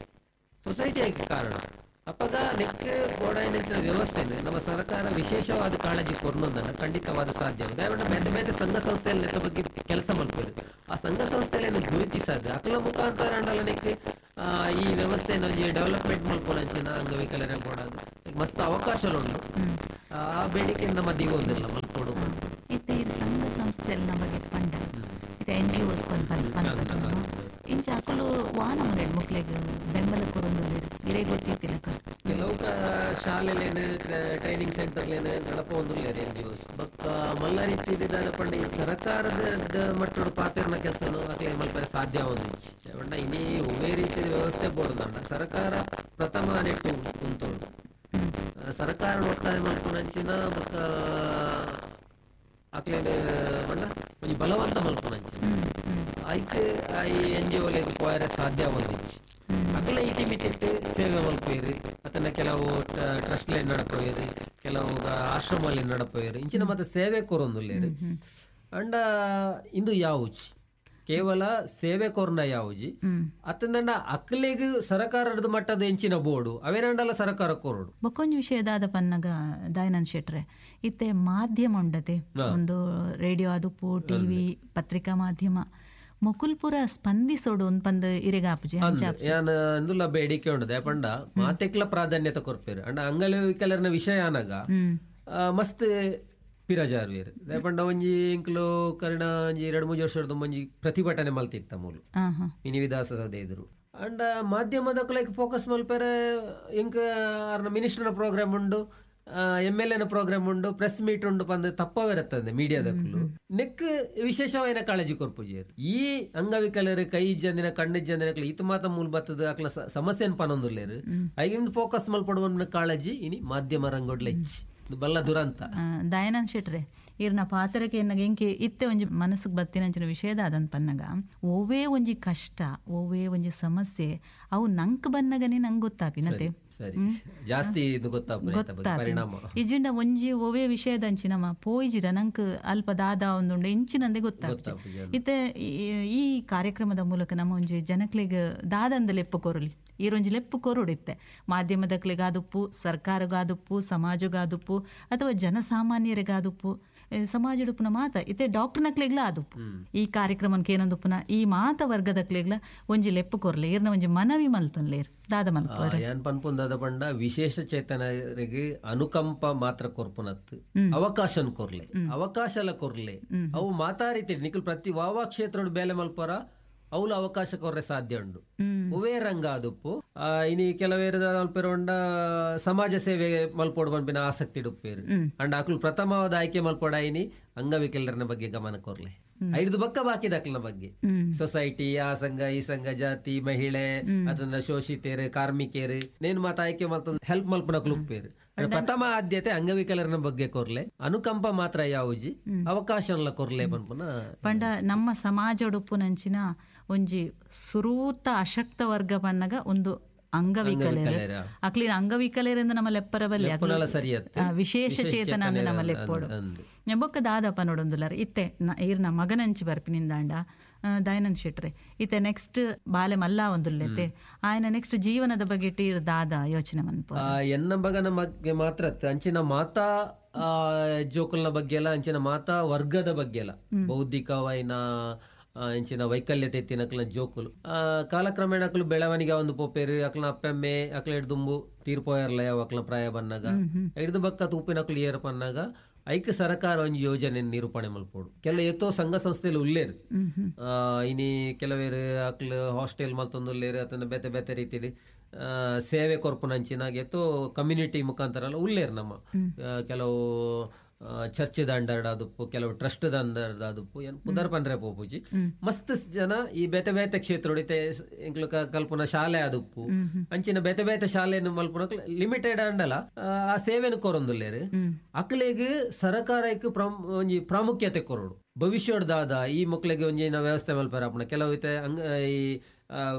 ಸೊಸೈಟಿ ಅದಕ್ಕೆ ಕಾರಣ. ಅಪಗ ನೆಕ್ ಬೋಡಾಯಿನ ವ್ಯವಸ್ಥೆ ನಮ್ಮ ಸರ್ಕಾರ ವಿಶೇಷವಾದ ಕಾಳಜಿ ಕೊರ್ನೊಂದನ್ನ ಖಂಡಿತವಾದ ಸಾಧ್ಯ. ದಯವಿಟ್ಟು ಬೇರೆ ಬೇರೆ ಸಂಘ ಸಂಸ್ಥೆಯಲ್ಲಿ ನೆತ್ತ ಬಗ್ಗೆ ಕೆಲಸ ಮಾಡ್ತಾರೆ. ಆ ಸಂಘ ಸಂಸ್ಥೆಗಳನ್ನು ಗುರುತಿಸಾದ ಅಕಲ ಮುಖಾಂತರ ಅಂಡಲ ನೆಕ್ ಈ ವ್ಯವಸ್ಥೆಯನ್ನು ಒಂಜಿ ಡೆವಲಪ್ಮೆಂಟ್ ಮಲ್ಪೊನಂಚಿನ ಅಂಗವಿಕಲರ ಬೋಡಾದ ಮಸ್ತ್ ಅವಕಾಶ ಉಂಡು. ಆ ಬೇಡಿಕೆ ನಮ್ಮ ದಿಗೊಂದಿಲ್ಲ ಮಲ್ಪೊಡು. ಇತ್ತೆ ಈ ಸಂಘ ಸಂಸ್ಥೆಯಲ್ಲಿ ನಮ್ಮ ಬಗ್ಗೆ ಪಂಡ ಇತ್ತೆ ಎನ್ ಜಿ ಒಸ್ ಪಂಡ ಇಂಚ ಅಕುಲು ವಾನ ಮನೆ ಮಕ್ಳಿಗೆ ಬೆಂಬಲ ಕೊರೊಂದು ಇರೇ ಗೊತ್ತಿತ್ತಿಲ್ಲಕ ಕೆಲವು ಶಾಲೆಲೇನು ಟ್ರೈನಿಂಗ್ ಸೆಂಟರ್ಲೇನು ನಡಪೊಂದುಲ್ಲೆರ್ ಎನ್ ಜಿ ಒಸ್ ಬೊಕ್ಕ ಮಲ್ಲ ರೀತಿ ದಾದ ಪಂಡ ಈ ಸರ್ಕಾರದ ಮಟ್ಟಡ್ ಪಾತೆರ್ನ ಕೆಲಸನು ಅಕ್ಲೆ ಮಲ್ಪೆರೆ ಸಾಧ್ಯ ಆವೊಂದಿಜ್ಜಿ. ಪಂಡ ಇನಿ ಒವ್ವೇ ರೀತಿಯ ವ್ಯವಸ್ಥೆ ಬೋಡುಂಡ ಸರ್ಕಾರ ಪ್ರಥಮ ನೆಟ್ಟು ಉಂತುಂಡು. ಸರ್ಕಾರ ಒತ್ತಾಯ ಮಲ್ಪುನಂಚಿನ ಬೊಕ್ಕ ಅಕ್ಲೆನ್ ಪಂಡ ಒಂಜಿ ಬಲವಂತ ಮಲ್ಪುನಂಚಿನ ಐಕ್ ಈ ಎನ್ ಜಿ ಒಲೆಗ್ ಪೋಯರೆ ಸಾಧ್ಯ ಆವೊಂದಿಜ್ಜಿ. ಅಕ್ಲೆ ಇತಿ ಮಿತಿಟ್ ಸೇವೆ ಮಲ್ಪುವೆರ್, ಅತ್ತಂಡ ಕೆಲವು ಟ್ರಸ್ಟ್ ಲೈನ್ ನಡಪುವೆರ್, ಕೆಲವು ಆಶ್ರಮ ಲೈನ್ ನಡಪುವೆರ್, ಇಂಚಿನ ಮಾತ ಸೇವೆ ಕೊರೊಂದುಲ್ಲೆರ್. ಅಂಡ ಇಂದು ಯಾವುಜಿ ಕೇವಲ ಸೇವೆ ಕೊರ್ನ ಯಾವುಜಿ ಅತ್ತಂಡ ಅಕ್ಲೆಗ್ ಸರ್ಕಾರದ ಮಟ್ಟದ ಎಂಚಿನ ಬೋರ್ಡು ಅವೇನಂಡಲ ಸರ್ಕಾರ ಕೊರಡು. ಬೊಕ್ಕೊಂಜಿ ವಿಷಯ ದಾದ ಪನ್ನಗ ದಯಾನಂದ್ ಶೆಟ್ರೆ, ಇತ್ತೆ ಮಾಧ್ಯಮ ಉಂಡತೆ ಒಂದು ರೇಡಿಯೋ ಆದುಪ್ಪು, ಟಿವಿ, ಪತ್ರಿಕಾ ಮಾಧ್ಯಮ ಮೊಕುಲ್ಪುರ ಸ್ಪಂದಿಸೋಡು ಪಂದ್ ಇರೆಗಾಪುಜಿ ಯಾನ್ ಇಂದುಲ ಬೇಡಿಕೆ ಉಂಡದೆ ಪಂಡ ಮಾತೆಕ್ಲ ಪ್ರಾಧಾನ್ಯತೆ ಕೊರ್ಪೇರು. ಅಂಡ ಅಂಗವಿಕಲರ್ನ ವಿಷಯ ಆನಗ ಮಸ್ತ್ ಪಿರಜಾರ್ವೇರ್. ಪಂಡ ಒಂಜಿ ಇಂಕ್ಲು ಕರ್ಣ ಒಂಜಿ ಎರಡು ಮೂಜಿ ವರ್ಷದ ಒಂಜಿ ಪ್ರತಿಭಟನೆ ಮಲ್ತಿತ್ತ ಮೂಲು ಮಿನಿ ವಿಧಾನಸೌಧ ಎದುರು. ಅಂಡ ಮಾಧ್ಯಮದಕ್ಲೆಗ್ ಫೋಕಸ್ ಮಲ್ಪೆರೆ ಇಂಕ್ ಅರ್ನ ಮಿನಿಸ್ಟರ್ನ ಪ್ರೋಗ್ರಾಮ್ ಉಂಡು, ಎಮ್ ಎಲ್ ಎನ ಪ್ರೋಗ್ರಾಮ್ ಉಂಡು, ಪ್ರೆಸ್ ಮೀಟ್ ಉಂಡು ಪಂದ್ ತಪ್ಪವಿರತ್ತಂದೆ ಮೀಡಿಯಾದಕ್ಕಲು ನೆಕ್ ವಿಶೇಷವಾದ ಕಾಳಜಿ ಕೊರ್ಪುಜಿ. ಈ ಅಂಗವಿಕಲರು ಕೈ ಇಜ್ಜಂದಿನ ಕಣ್ಣು ಇಜ್ಜಂದಿನ ಇತು ಮಾತ ಮೂಲ ಬತ್ತದ ಅಕ್ಲ ಸಮಸ್ಯೆನ್ ಪನೊಂದುಲ್ಲೇರು ಐಗಿನ ಫೋಕಸ್ ಮಲ್ಪಡುವ ಕಾಳಜಿ ಇನಿ ಮಾಧ್ಯಮ ರಂಗೋಡ್ಲ ಇಚ್ಚಿ ಬಲ್ಲ ದುರಂತ. ದಯಾನಂದ್ ಶೆಟ್ರೆ, ಇರ್ನ ಪಾತ್ರಕ್ಕೆ ಎನ್ನಗ ಎಂಕೆ ಇತ್ತೆ ಒಂಜಿ ಮನಸ್ಸಿಗೆ ಬತ್ತಿನಂಚಿನ ವಿಷಯದ ಅದಂತ ಪನ್ನಗ ಒವ್ವೇ ಒಂಜಿ ಕಷ್ಟ ಒವ್ವೇ ಒಂಜಿ ಸಮಸ್ಯೆ ಅವು ನಂಕ್ ಬನ್ನಗನೆ ನಂಗೆ ಗೊತ್ತಾಪಿನತೆ ಜಾಸ್ತಿ ಗೊತ್ತಾಪ ಇಜಿಂಡ ಒಂಜಿ ಒವ್ವೇ ವಿಷಯದಂಚಿ ನಮ್ಮ ಪೋಯಿಜಿಡ ನಂಕ್ ಅಲ್ಪ ದಾದ ಒಂದುಂಡು ಇಂಚಿನಂದೆ ಗೊತ್ತಾಪ. ಇತ್ತೆ ಈ ಕಾರ್ಯಕ್ರಮದ ಮೂಲಕ ನಮ್ಮ ಒಂಜಿ ಜನಕ್ಲೆಗ್ ದಾದಂದ ಲೆಪ್ಪು ಕೊರಲಿ ಈರೊಂಜಿ ಲೆಪ್ಪು ಕೊರೊಡಿತ್ತೆ ಮಾಧ್ಯಮದಕ್ಲೆಗಾದುಪ್ಪು, ಸರ್ಕಾರಗಾದುಪ್ಪು, ಸಮಾಜಗಾದುಪ್ಪು ಅಥವಾ ಜನಸಾಮಾನ್ಯರಿಗಾದುಪ್ಪು, ಸಮಾಜಡುಪ್ಪುನ ಮಾತ ಇತ್ತೆ ಡಾಕ್ಟರ್ನಕ್ಲೆಗ್ಲ ಆದುಪ್ಪು ಈ ಕಾರ್ಯಕ್ರಮಕ್ಕೆ ಏನೊಂದುಪ್ಪುನ ಈ ಮಾತ ವರ್ಗದಕ್ಲೆಗ್ಲ ಒಂಜಿ ಲೆಪ್ಪು ಕೊರ್ಲೆ ಇರ್ನ ಒಂಜಿ ಮನವಿ ಮಲ್ತೊನ್ಲೇರ್ ದಾದ ಮಲ್ಪುವರ್. ಯಾನ್ ಪನ್ಪುಂದಾದ ಪಂಡ ವಿಶೇಷ ಚೇತನರಿಗೆ ಅನುಕಂಪ ಮಾತ್ರ ಕೊರ್ಪುನತ್ತು ಅವಕಾಶನ್ ಕೊರ್ಲೆ, ಅವಕಾಶಲ ಕೊರ್ಲೆ. ಅವು ಮಾತಾ ರೀತಿ ನಿಖಲ್ ಪ್ರತಿ ವಾವಾ ಕ್ಷೇತ್ರೋಡು ಬೇಲೆ ಮಲ್ಪರ ಅವಳು ಅವಕಾಶ ಕೊರ್ರೆ ಸಾಧ್ಯ ಉಂಡು. ಒವೇ ರಂಗ ಆದುಪ್ಪು ಇನಿ ಕೆಲವೇರು ಮಲ್ಪೆರೋಂಡ ಸಮಾಜ ಸೇವೆ ಮಲ್ಪೋಡು ಪನ್ಪಿನ ಆಸಕ್ತಿ ಇಡುಪ್ಪೇರು. ಅಂಡ್ ಅಕ್ಲು ಪ್ರಥಮವಾದ ಆಯ್ಕೆ ಮಲ್ಪೋಡ ಇನಿ ಅಂಗವಿಕಲರನ ಬಗ್ಗೆ ಗಮನ ಕೊರ್ಲೆ. ಐದು ಬಕ್ಕ ಬಾಕಿದ ಅಕ್ಲನ ಬಗ್ಗೆ ಸೊಸೈಟಿ, ಆ ಸಂಘ ಈ ಸಂಘ, ಜಾತಿ, ಮಹಿಳೆ, ಅದನ್ನ ಶೋಷಿತೇರು, ಕಾರ್ಮಿಕರು ನೇನು ಮಾತ ಆಯ್ಕೆ ಮಲ್ತ ಹೆಲ್ಪ್ ಮಲ್ಪನ ಕ್ಲುಪ್ಪೇರು. ಪ್ರಥಮ ಆದ್ಯತೆ ಅಂಗವಿಕಲರನ ಬಗ್ಗೆ ಕೊರ್ಲೆ, ಅನುಕಂಪ ಮಾತ್ರ ಯಾವುಜಿ ಅವಕಾಶ ಕೊರ್ಲೆ ಪನ್ಪುನ. ಪಂಡ ನಮ್ಮ ಸಮಾಜಡುಪ್ಪುನಂಚಿನ ಒಂಜಿ ಸುರೂತ ಅಶಕ್ತ ವರ್ಗ ಪನ್ನಗ ಒಂದು ಅಂಗವಿಕಲರು ಅಕ್ಲಿನ ಅಂಗವಿಕಲರಿಂದ ನಮ್ಮ ಲೆಪ್ಪರ ಬಲ್ಲಿ ವಿಶೇಷ ಚೇತನ ಅಂದ್ರೆ ನಮ್ಮ ಲೆಪ್ಪೋಡು ಬೊಕ್ಕ ದಾದಪ್ಪ ನೋಡೊಂದುಲ್ಲಾರ. ಇತ್ತೆ ಈರ್ನ ಮಗನಂಚಿ ಬರ್ಪಿನಿಂದಾಂಡ ದಯಾನಂದ್ ಶೆಟ್ರೆ, ಇತ್ತೆ ನೆಕ್ಸ್ಟ್ ಬಾಲೆ ಮಲ್ಲ ಒಂದುಲ್ಲೆತೆ ಆಯನ ನೆಕ್ಸ್ಟ್ ಜೀವನದ ಬಗ್ಗೆ ಟೀರ್ ದಾದ ಯೋಚನೆ ಮನ್ಪು. ಎನ್ನ ಬಗನ ಬಗ್ಗೆ ಮಾತ್ರ ಅಂಚಿನ ಮಾತಾ ಜೋಕುಲ್ನ ಬಗ್ಗೆ ಎಲ್ಲ ಅಂಚಿನ ಮಾತಾ ವರ್ಗದ ಬಗ್ಗೆ ಎಲ್ಲ ಬೌದ್ಧಿಕವಾಯಿನ ಇಂಚಿನ ವೈಕಲ್ಯತೆ ಎತ್ತಿನ ಜೋಕುಲು ಕಾಲಕ್ರಮೇಣ ಅಕ್ಲು ಬೆಳವಣಿಗೆ ಒಂದು ಪೋಪೇರು ಅಕ್ಲ ಅಪ್ಪೆಮ್ಮೆ ಅಕ್ಲ ಹಿಡ್ದುಂಬು ತೀರ್ಪೋಯರ್ಲ ಯಾವ ಅಕ್ಲ ಪ್ರಾಯ ಬನ್ನಾಗ ಹಿಡ್ದು ಬಕ್ಕ ತೂಪಿನಕ್ಲು ಏರ್ ಪನ್ನಾಗ ಐಕ್ ಸರ್ಕಾರ ಒಂಜಿ ಯೋಜನೆ ನಿರೂಪಣೆ ಮಲ್ಪೋಡು. ಕೆಲ ಏತೋ ಸಂಘ ಸಂಸ್ಥೆಲು ಉಲ್ಲೇರು ಇನಿ ಕೆಲವೇರು ಅಕ್ಲು ಹಾಸ್ಟೆಲ್ ಮಲ್ತೊಂದುಲ್ಲೇರು ಅದನ್ನ ಬೇತೆ ಬೇತೆ ರೀತಿಲಿ ಸೇವೆ ಕೊರ್ಪುನಂಚಿನ ಏತೋ ಕಮ್ಯುನಿಟಿ ಮುಖಾಂತರ ಎಲ್ಲ ಉಲ್ಲೇರು ನಮ್ಮ ಕೆಲವು ಚರ್ಚ್ ದಂಡರ್ಡ್ ಆದುಪ್ಪು, ಕೆಲವು ಟ್ರಸ್ಟ್ ದಂಡರ್ಡ್ ಆದುಪ್ಪು ಏನ್ ಪುದರ್ ಪನ್ರೆ ಪೋಪುಜಿ ಮಸ್ತ್ ಜನ ಈ ಬೇತೆ ಬೇತೆ ಕ್ಷೇತ್ರ ಎಂಕ್ಲು ಕಲ್ಪನ ಶಾಲೆ ಆದುಪ್ಪು ಅಂಚಿನ ಬೇತೆ ಬೇತೆ ಶಾಲೆಯನ್ನು ಮಲ್ಪುನ ಲಿಮಿಟೆಡ್ ಅಂಡಲ ಆ ಸೇವೆನು ಕೊರೊಂದುಲ್ಲೇರು. ಅಕ್ಲೆಗ್ ಸರ್ಕಾರಕ್ಕೆ ಒಂಜಿ ಪ್ರಾಮುಖ್ಯತೆ ಕೊರೊಡು. ಭವಿಷ್ಯದ ಈ ಮಕ್ಳಿಗೆ ಒಂಜಿ ವ್ಯವಸ್ಥೆ ಮಲ್ಪರ ಅಪ್ಪಣ ಕೆಲವು ಇತ್ತೆ ಅಂಗ ಈ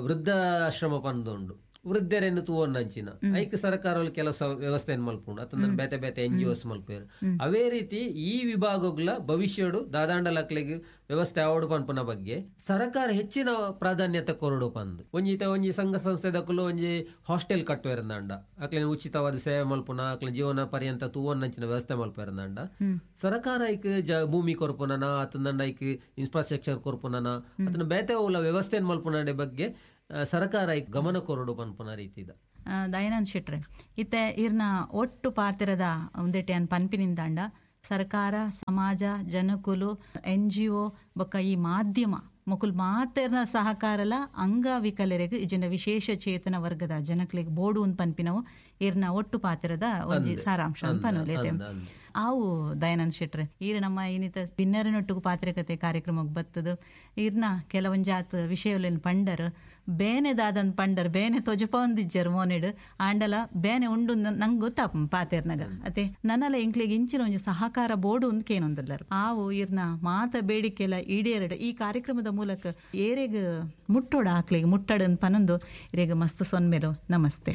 ವೃದ್ಧಾಶ್ರಮ ಪಂದುಂಡು ವೃದ್ಧರನ್ನು ತೂವೊನ್ನಂಚಿನ ಐಕ್ ಸರ್ಕಾರ ಕೆಲವು ವ್ಯವಸ್ಥೆಯನ್ನು ಮಲ್ಪುಂಡು ಅತಂದ್ರೆ ಬೇತೆ ಬೇತೆ ಎನ್ ಜಿ ಒಸ್ ಮಲ್ಪೇರು. ಅವೇ ರೀತಿ ಈ ವಿಭಾಗಗಳ ಭವಿಷ್ಯಡು ದಾದಾಂಡಲಕ್ಲೆಗ್ ವ್ಯವಸ್ಥೆ ಆವಡು ಪನ್ಪುನ ಬಗ್ಗೆ ಸರ್ಕಾರ ಹೆಚ್ಚಿನ ಪ್ರಾಧಾನ್ಯತೆ ಕೊರಡು ಪಂದ್ ಒಂಜಿ ಇತ್ತೆ ಒಂಜಿ ಸಂಘ ಸಂಸ್ಥೆದಕುಲು ಒಂಜಿ ಹಾಸ್ಟೆಲ್ ಕಟ್ಟುವೆರಂದಾಂಡ ಅಕ್ಲೆನ ಉಚಿತವಾದ ಸೇವೆ ಮಲ್ಪುನ ಅಕ್ಲೆ ಜೀವನ ಪರ್ಯಂತ ತೂವೊನ್ನಂಚಿನ ವ್ಯವಸ್ಥೆ ಮಲ್ಪೆರಂದಾಂಡ ಸರ್ಕಾರ ಐಕ್ ಜ ಭೂಮಿ ಕೊರ್ಪುನನ ಅತಂದಂಡ ಐಕ್ ಇನ್ಫ್ರಾಸ್ಟ್ರಕ್ಚರ್ ಕೊರ್ಪುನನ ಅತನ ಬೇತೆ ಉಲ್ಲ ವ್ಯವಸ್ಥೆಯನ್ನು ಮಲ್ಪುನ ಬಗ್ಗೆ ಸರ್ಕಾರ ಐಕ್ ಗಮನ ಕೊರಡು ಪನ್ಪುನ ರೀತಿದ. ದಯಾನಂದ್ ಶೆಟ್ರೆ, ಇತ್ತೆ ಇರ್ನ ಒಟ್ಟು ಪಾತ್ರದ ಒಂದೆಟೆ ಅನ್ ಪನ್ಪಿನಿಂದಾಂಡ ಸರ್ಕಾರ, ಸಮಾಜ, ಜನಕುಲು, ಎನ್ ಜಿ ಒ ಬೊಕ್ಕ ಈ ಮಾಧ್ಯಮ ಮೊಕುಲ್ ಮಾತೆರ್ನ ಸಹಕಾರಲ ಅಂಗವಿಕಲರಿಗೆ ಇಜಿನ ವಿಶೇಷ ಚೇತನ ವರ್ಗದ ಜನಕ್ಲೆಗ್ ಬೋಡು ಅಂತ ಪನ್ಪಿನವು ಇರ್ನ ಒಟ್ಟು ಪಾತ್ರದ ಒಂಜಿ ಸಾರಾಂಶ ಅಂತ ಪನೊಲೇತೆ. ಆವು ದಯಾನಂದ್ ಶೆಟ್ರೆ, ಈರ್ ನಮ್ಮ ಇನ್ನಿತ ಬಿನ್ನರನೊಟ್ಟಿಗೂ ಪಾತ್ರಿಕತೆ ಕಾರ್ಯಕ್ರಮಕ್ಕೆ ಬತ್ತದು ಈರ್ನ ಕೆಲವೊಂಜಾತ್ ವಿಷಯಲೆನ್ ಪಂಡರ್ ಬೇನೆ ದಾದನ್ ಪಂಡರ್ ಬೇನೆ ತೊಜಪೊಂದಿಜ್ಜರ್ ಮೋನೆಡ್ ಆಂಡಲ ಬೇನೆ ಉಂಡು ನಂಗೆ ಗೊತ್ತಾಪ ಪಾತೆರ್ನಗ ಅತೆ ನನ್ನಲ ಎಂಕ್ಲೆಗ್ ಇಂಚಿನ ಒಂಜಿ ಸಹಕಾರ ಬೋಡು ಅಂದ್ ಕೇನೊಂದುಲ್ಲರು. ಆವು ಈರ್ನ ಮಾತ ಬೇಡಿಕೆಲ ಈಡೇರಡು ಈ ಕಾರ್ಯಕ್ರಮದ ಮೂಲಕ ಏರೆಗ್ ಮುಟ್ಟೋಡ ಆಕ್ಲೆಗ್ ಮುಟ್ಟಡನ್ ಪನೊಂದು ಇರೆಗ್ ಮಸ್ತ್ ಸೊನ್ಮೆಲು. ನಮಸ್ತೆ.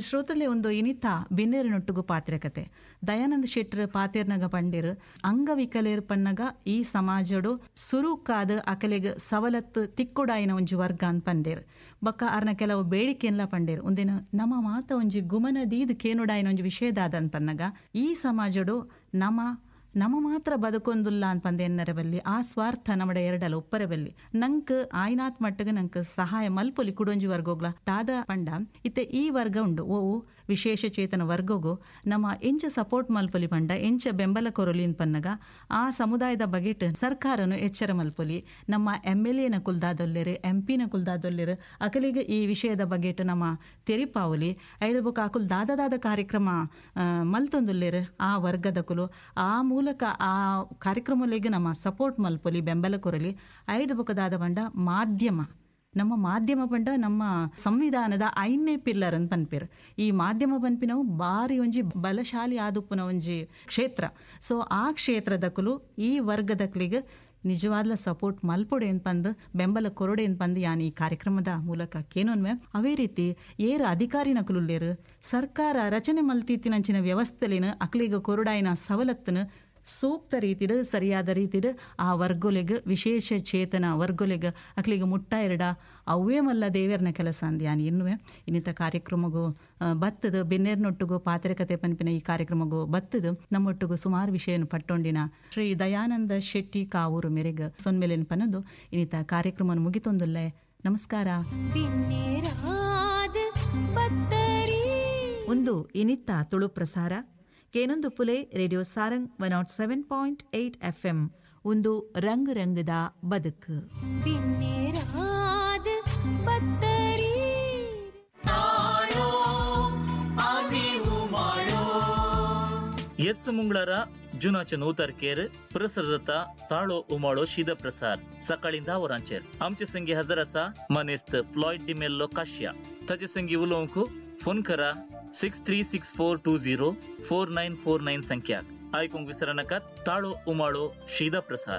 ಶ್ರೋತೃಲೆ ಒಂದು ಇನಿತ ಬಿನ್ನೇರಿನೊಟ್ಟುಗು ಪಾತ್ರೆ ದಯಾನಂದ ಶೆಟ್ರ್ ಪಾತೇರ್ನಗ ಪಂಡಿರು ಅಂಗವಿಕಲೇರ್ ಪನ್ನಗ ಈ ಸಮಾಜಡು ಸುರುಕಾದ ಅಕಲೆಗ್ ಸವಲತ್ತು ತಿಕ್ಕೊಡಾಯಿನ ಒಂಜಿ ವರ್ಗ ಅಂತ ಪಂಡೇರ್ ಬಕ್ಕ ಅರ್ನ ಕೆಲವು ಬೇಡಿಕೆನ್ಲ ಪಂಡೇರ್. ಒಂದಿನ ನಮ್ಮ ಮಾತ ಒಂಜಿ ಗುಮನ ದೀದ್ ಕೇನುಡಾಯಿನ ಒಂಜಿ ವಿಷಯದಾದ ಅಂತ ಪನ್ನಗ ಈ ಸಮಾಜಡು ನಮ್ಮ ನಮ್ಮ ಮಾತ್ರ ಬದುಕೊಂದುಲ್ಲ ಅಂತ ಎನ್ನರ ಬಲ್ಲಿ ಆ ಸ್ವಾರ್ಥ ನಮ್ಮಡ ಎರಡಲ್ಲ ಒಪ್ಪರ ಬಲ್ಲಿ ನಂಕ್ ಆಯ್ನಾತ್ ಮಟ್ಟಗೆ ನಂಕ್ ಸಹಾಯ ಮಲ್ಪೊಲಿ ಕುಡೊಂಜಿ ವರ್ಗೋಗ್ಲ ದಾದ ಪಂಡ ಇತ್ತೆ ಈ ವರ್ಗ ಉಂಡು ಓವು ವಿಶೇಷ ಚೇತನ ವರ್ಗಗು ನಮ್ಮ ಎಂಚ ಸಪೋರ್ಟ್ ಮಲ್ಪೊಲಿ ಪಂಡ ಎಂಚ ಬೆಂಬಲ ಕೊರೊಲಿ ಪನ್ನಗ ಆ ಸಮುದಾಯದ ಬಗೆಟ್ ಸರ್ಕಾರನು ಎಚ್ಚರ ಮಲ್ಪೊಲಿ. ನಮ್ಮ ಎಮ್ ಎಲ್ ಎನ ಕುಲ್ದಾದೊಲ್ಲೆರು, ಎಂ ಪಿನ ಕುಲ್ದಾದೊಲ್ಲೆರು ಅಕಲಿಗೆ ಈ ವಿಷಯದ ಬಗೆಟ್ ನಮ್ಮ ತೆರಿಪಾವಲಿ ಐದು ಅಕುಲ್ ದಾದ ದಾದ ಕಾರ್ಯಕ್ರಮ ಮಲ್ತೊಂದುಲ್ಲೆರು ಆ ವರ್ಗದಕುಲು ಆ ಮೂಲಕ ಆ ಕಾರ್ಯಕ್ರಮಗಳಿಗೆ ನಮ್ಮ ಸಪೋರ್ಟ್ ಮಲ್ಪೊಲಿ ಬೆಂಬಲ ಕೊರಲಿ. ಐದು ಬೊಕದಾದ ಪಂಡ ಮಾಧ್ಯಮ, ನಮ್ಮ ಮಾಧ್ಯಮ ಪಂಡ ನಮ್ಮ ಸಂವಿಧಾನದ ಐನೇ ಪಿಲ್ಲರ್ ಅಂತ ಪನ್ಪೇರು. ಈ ಮಾಧ್ಯಮ ಪನ್ಪಿನವು ಬಾರಿ ಒಂಜಿ ಬಲಶಾಲಿ ಆದುಪ್ಪುನ ಒಂಜಿ ಕ್ಷೇತ್ರ. ಸೊ ಆ ಕ್ಷೇತ್ರದಕುಲು ಈ ವರ್ಗದಕ್ಲಿಗೆ ನಿಜವಾದ್ಲ ಸಪೋರ್ಟ್ ಮಲ್ಪೊಡೆ ಪಂದ್ ಬೆಂಬಲ ಕೊರೊಡೆ ಪಂದ್ ಯಾನ್ ಈ ಕಾರ್ಯಕ್ರಮದ ಮೂಲಕ ಕೇನೊನ್ವೆ. ಅವೇ ರೀತಿ ಏರ್ ಅಧಿಕಾರಿ ನಕುಲುಲ್ಲೇರು ಸರ್ಕಾರ ರಚನೆ ಮಲ್ತೀತಿನಂಚಿನ ವ್ಯವಸ್ಥೆಲಿನ ಅಕ್ಲಿಗ ಕೊರಡಾಯಿನ ಸವಲತ್ತನ್ನು ಸೂಕ್ತ ರೀತಿಡು ಸರಿಯಾದ ರೀತಿಡು ಆ ವರ್ಗೊಲೆಗ್ ವಿಶೇಷ ಚೇತನ ವರ್ಗೊಲೆಗ್ ಅಕ್ಲಿಗೆ ಮುಟ್ಟ ಎರಡ ಅವೇ ಮಲ್ಲ ದೇವರ್ನ ಕೆಲಸ ಅಂದ್ ಯಾನ್ ಎನ್ನುವೆ. ಇನ್ನಿತ ಕಾರ್ಯಕ್ರಮಗೂ ಬತ್ತದು ಬೆನ್ನೇರ್ನೊಟ್ಟಿಗೂ ಪಾತ್ರೆ ಪನ್ಪಿನ ಈ ಕಾರ್ಯಕ್ರಮಗೂ ಬತ್ತದು ನಮ್ಮೊಟ್ಟಿಗೂ ಸುಮಾರು ವಿಷಯನು ಪಟ್ಟೊಂಡಿನ ಶ್ರೀ ದಯಾನಂದ ಶೆಟ್ಟಿ ಕಾವೂರು ಮೇರೆಗ್ ಸೊನ್ಮೆಲೆನ್ ಪನದು ಇನ್ನಿತ ಕಾರ್ಯಕ್ರಮ ಮುಗಿತೊಂದುಲ್ಲೆ. ನಮಸ್ಕಾರ. ಒಂದು ಇನಿತ್ತ ತುಳು ಪ್ರಸಾರ ಕೇನೊಂದು Phule radio Sarang one nought seven point eight F M. ಒಂದು ರಂಗ್ ರಂಗದ ಬದುಕು. ಎಸ್ ಮುಂಗಳಾರ जुनाचे णव तारखेर प्रसार जाता ताळो उमाळो शीद प्रसार सकाळी धा वरांचेर. आमचे संगी हजर आसा मानेस्त फ्लॉयड डिमेल्लो काश्या. ताचे संगी उलोवंक फोन करा six three six four two zero four nine four nine संख्याक. आयकूंक विसरनाकात ताळो उमाळो शीद प्रसार.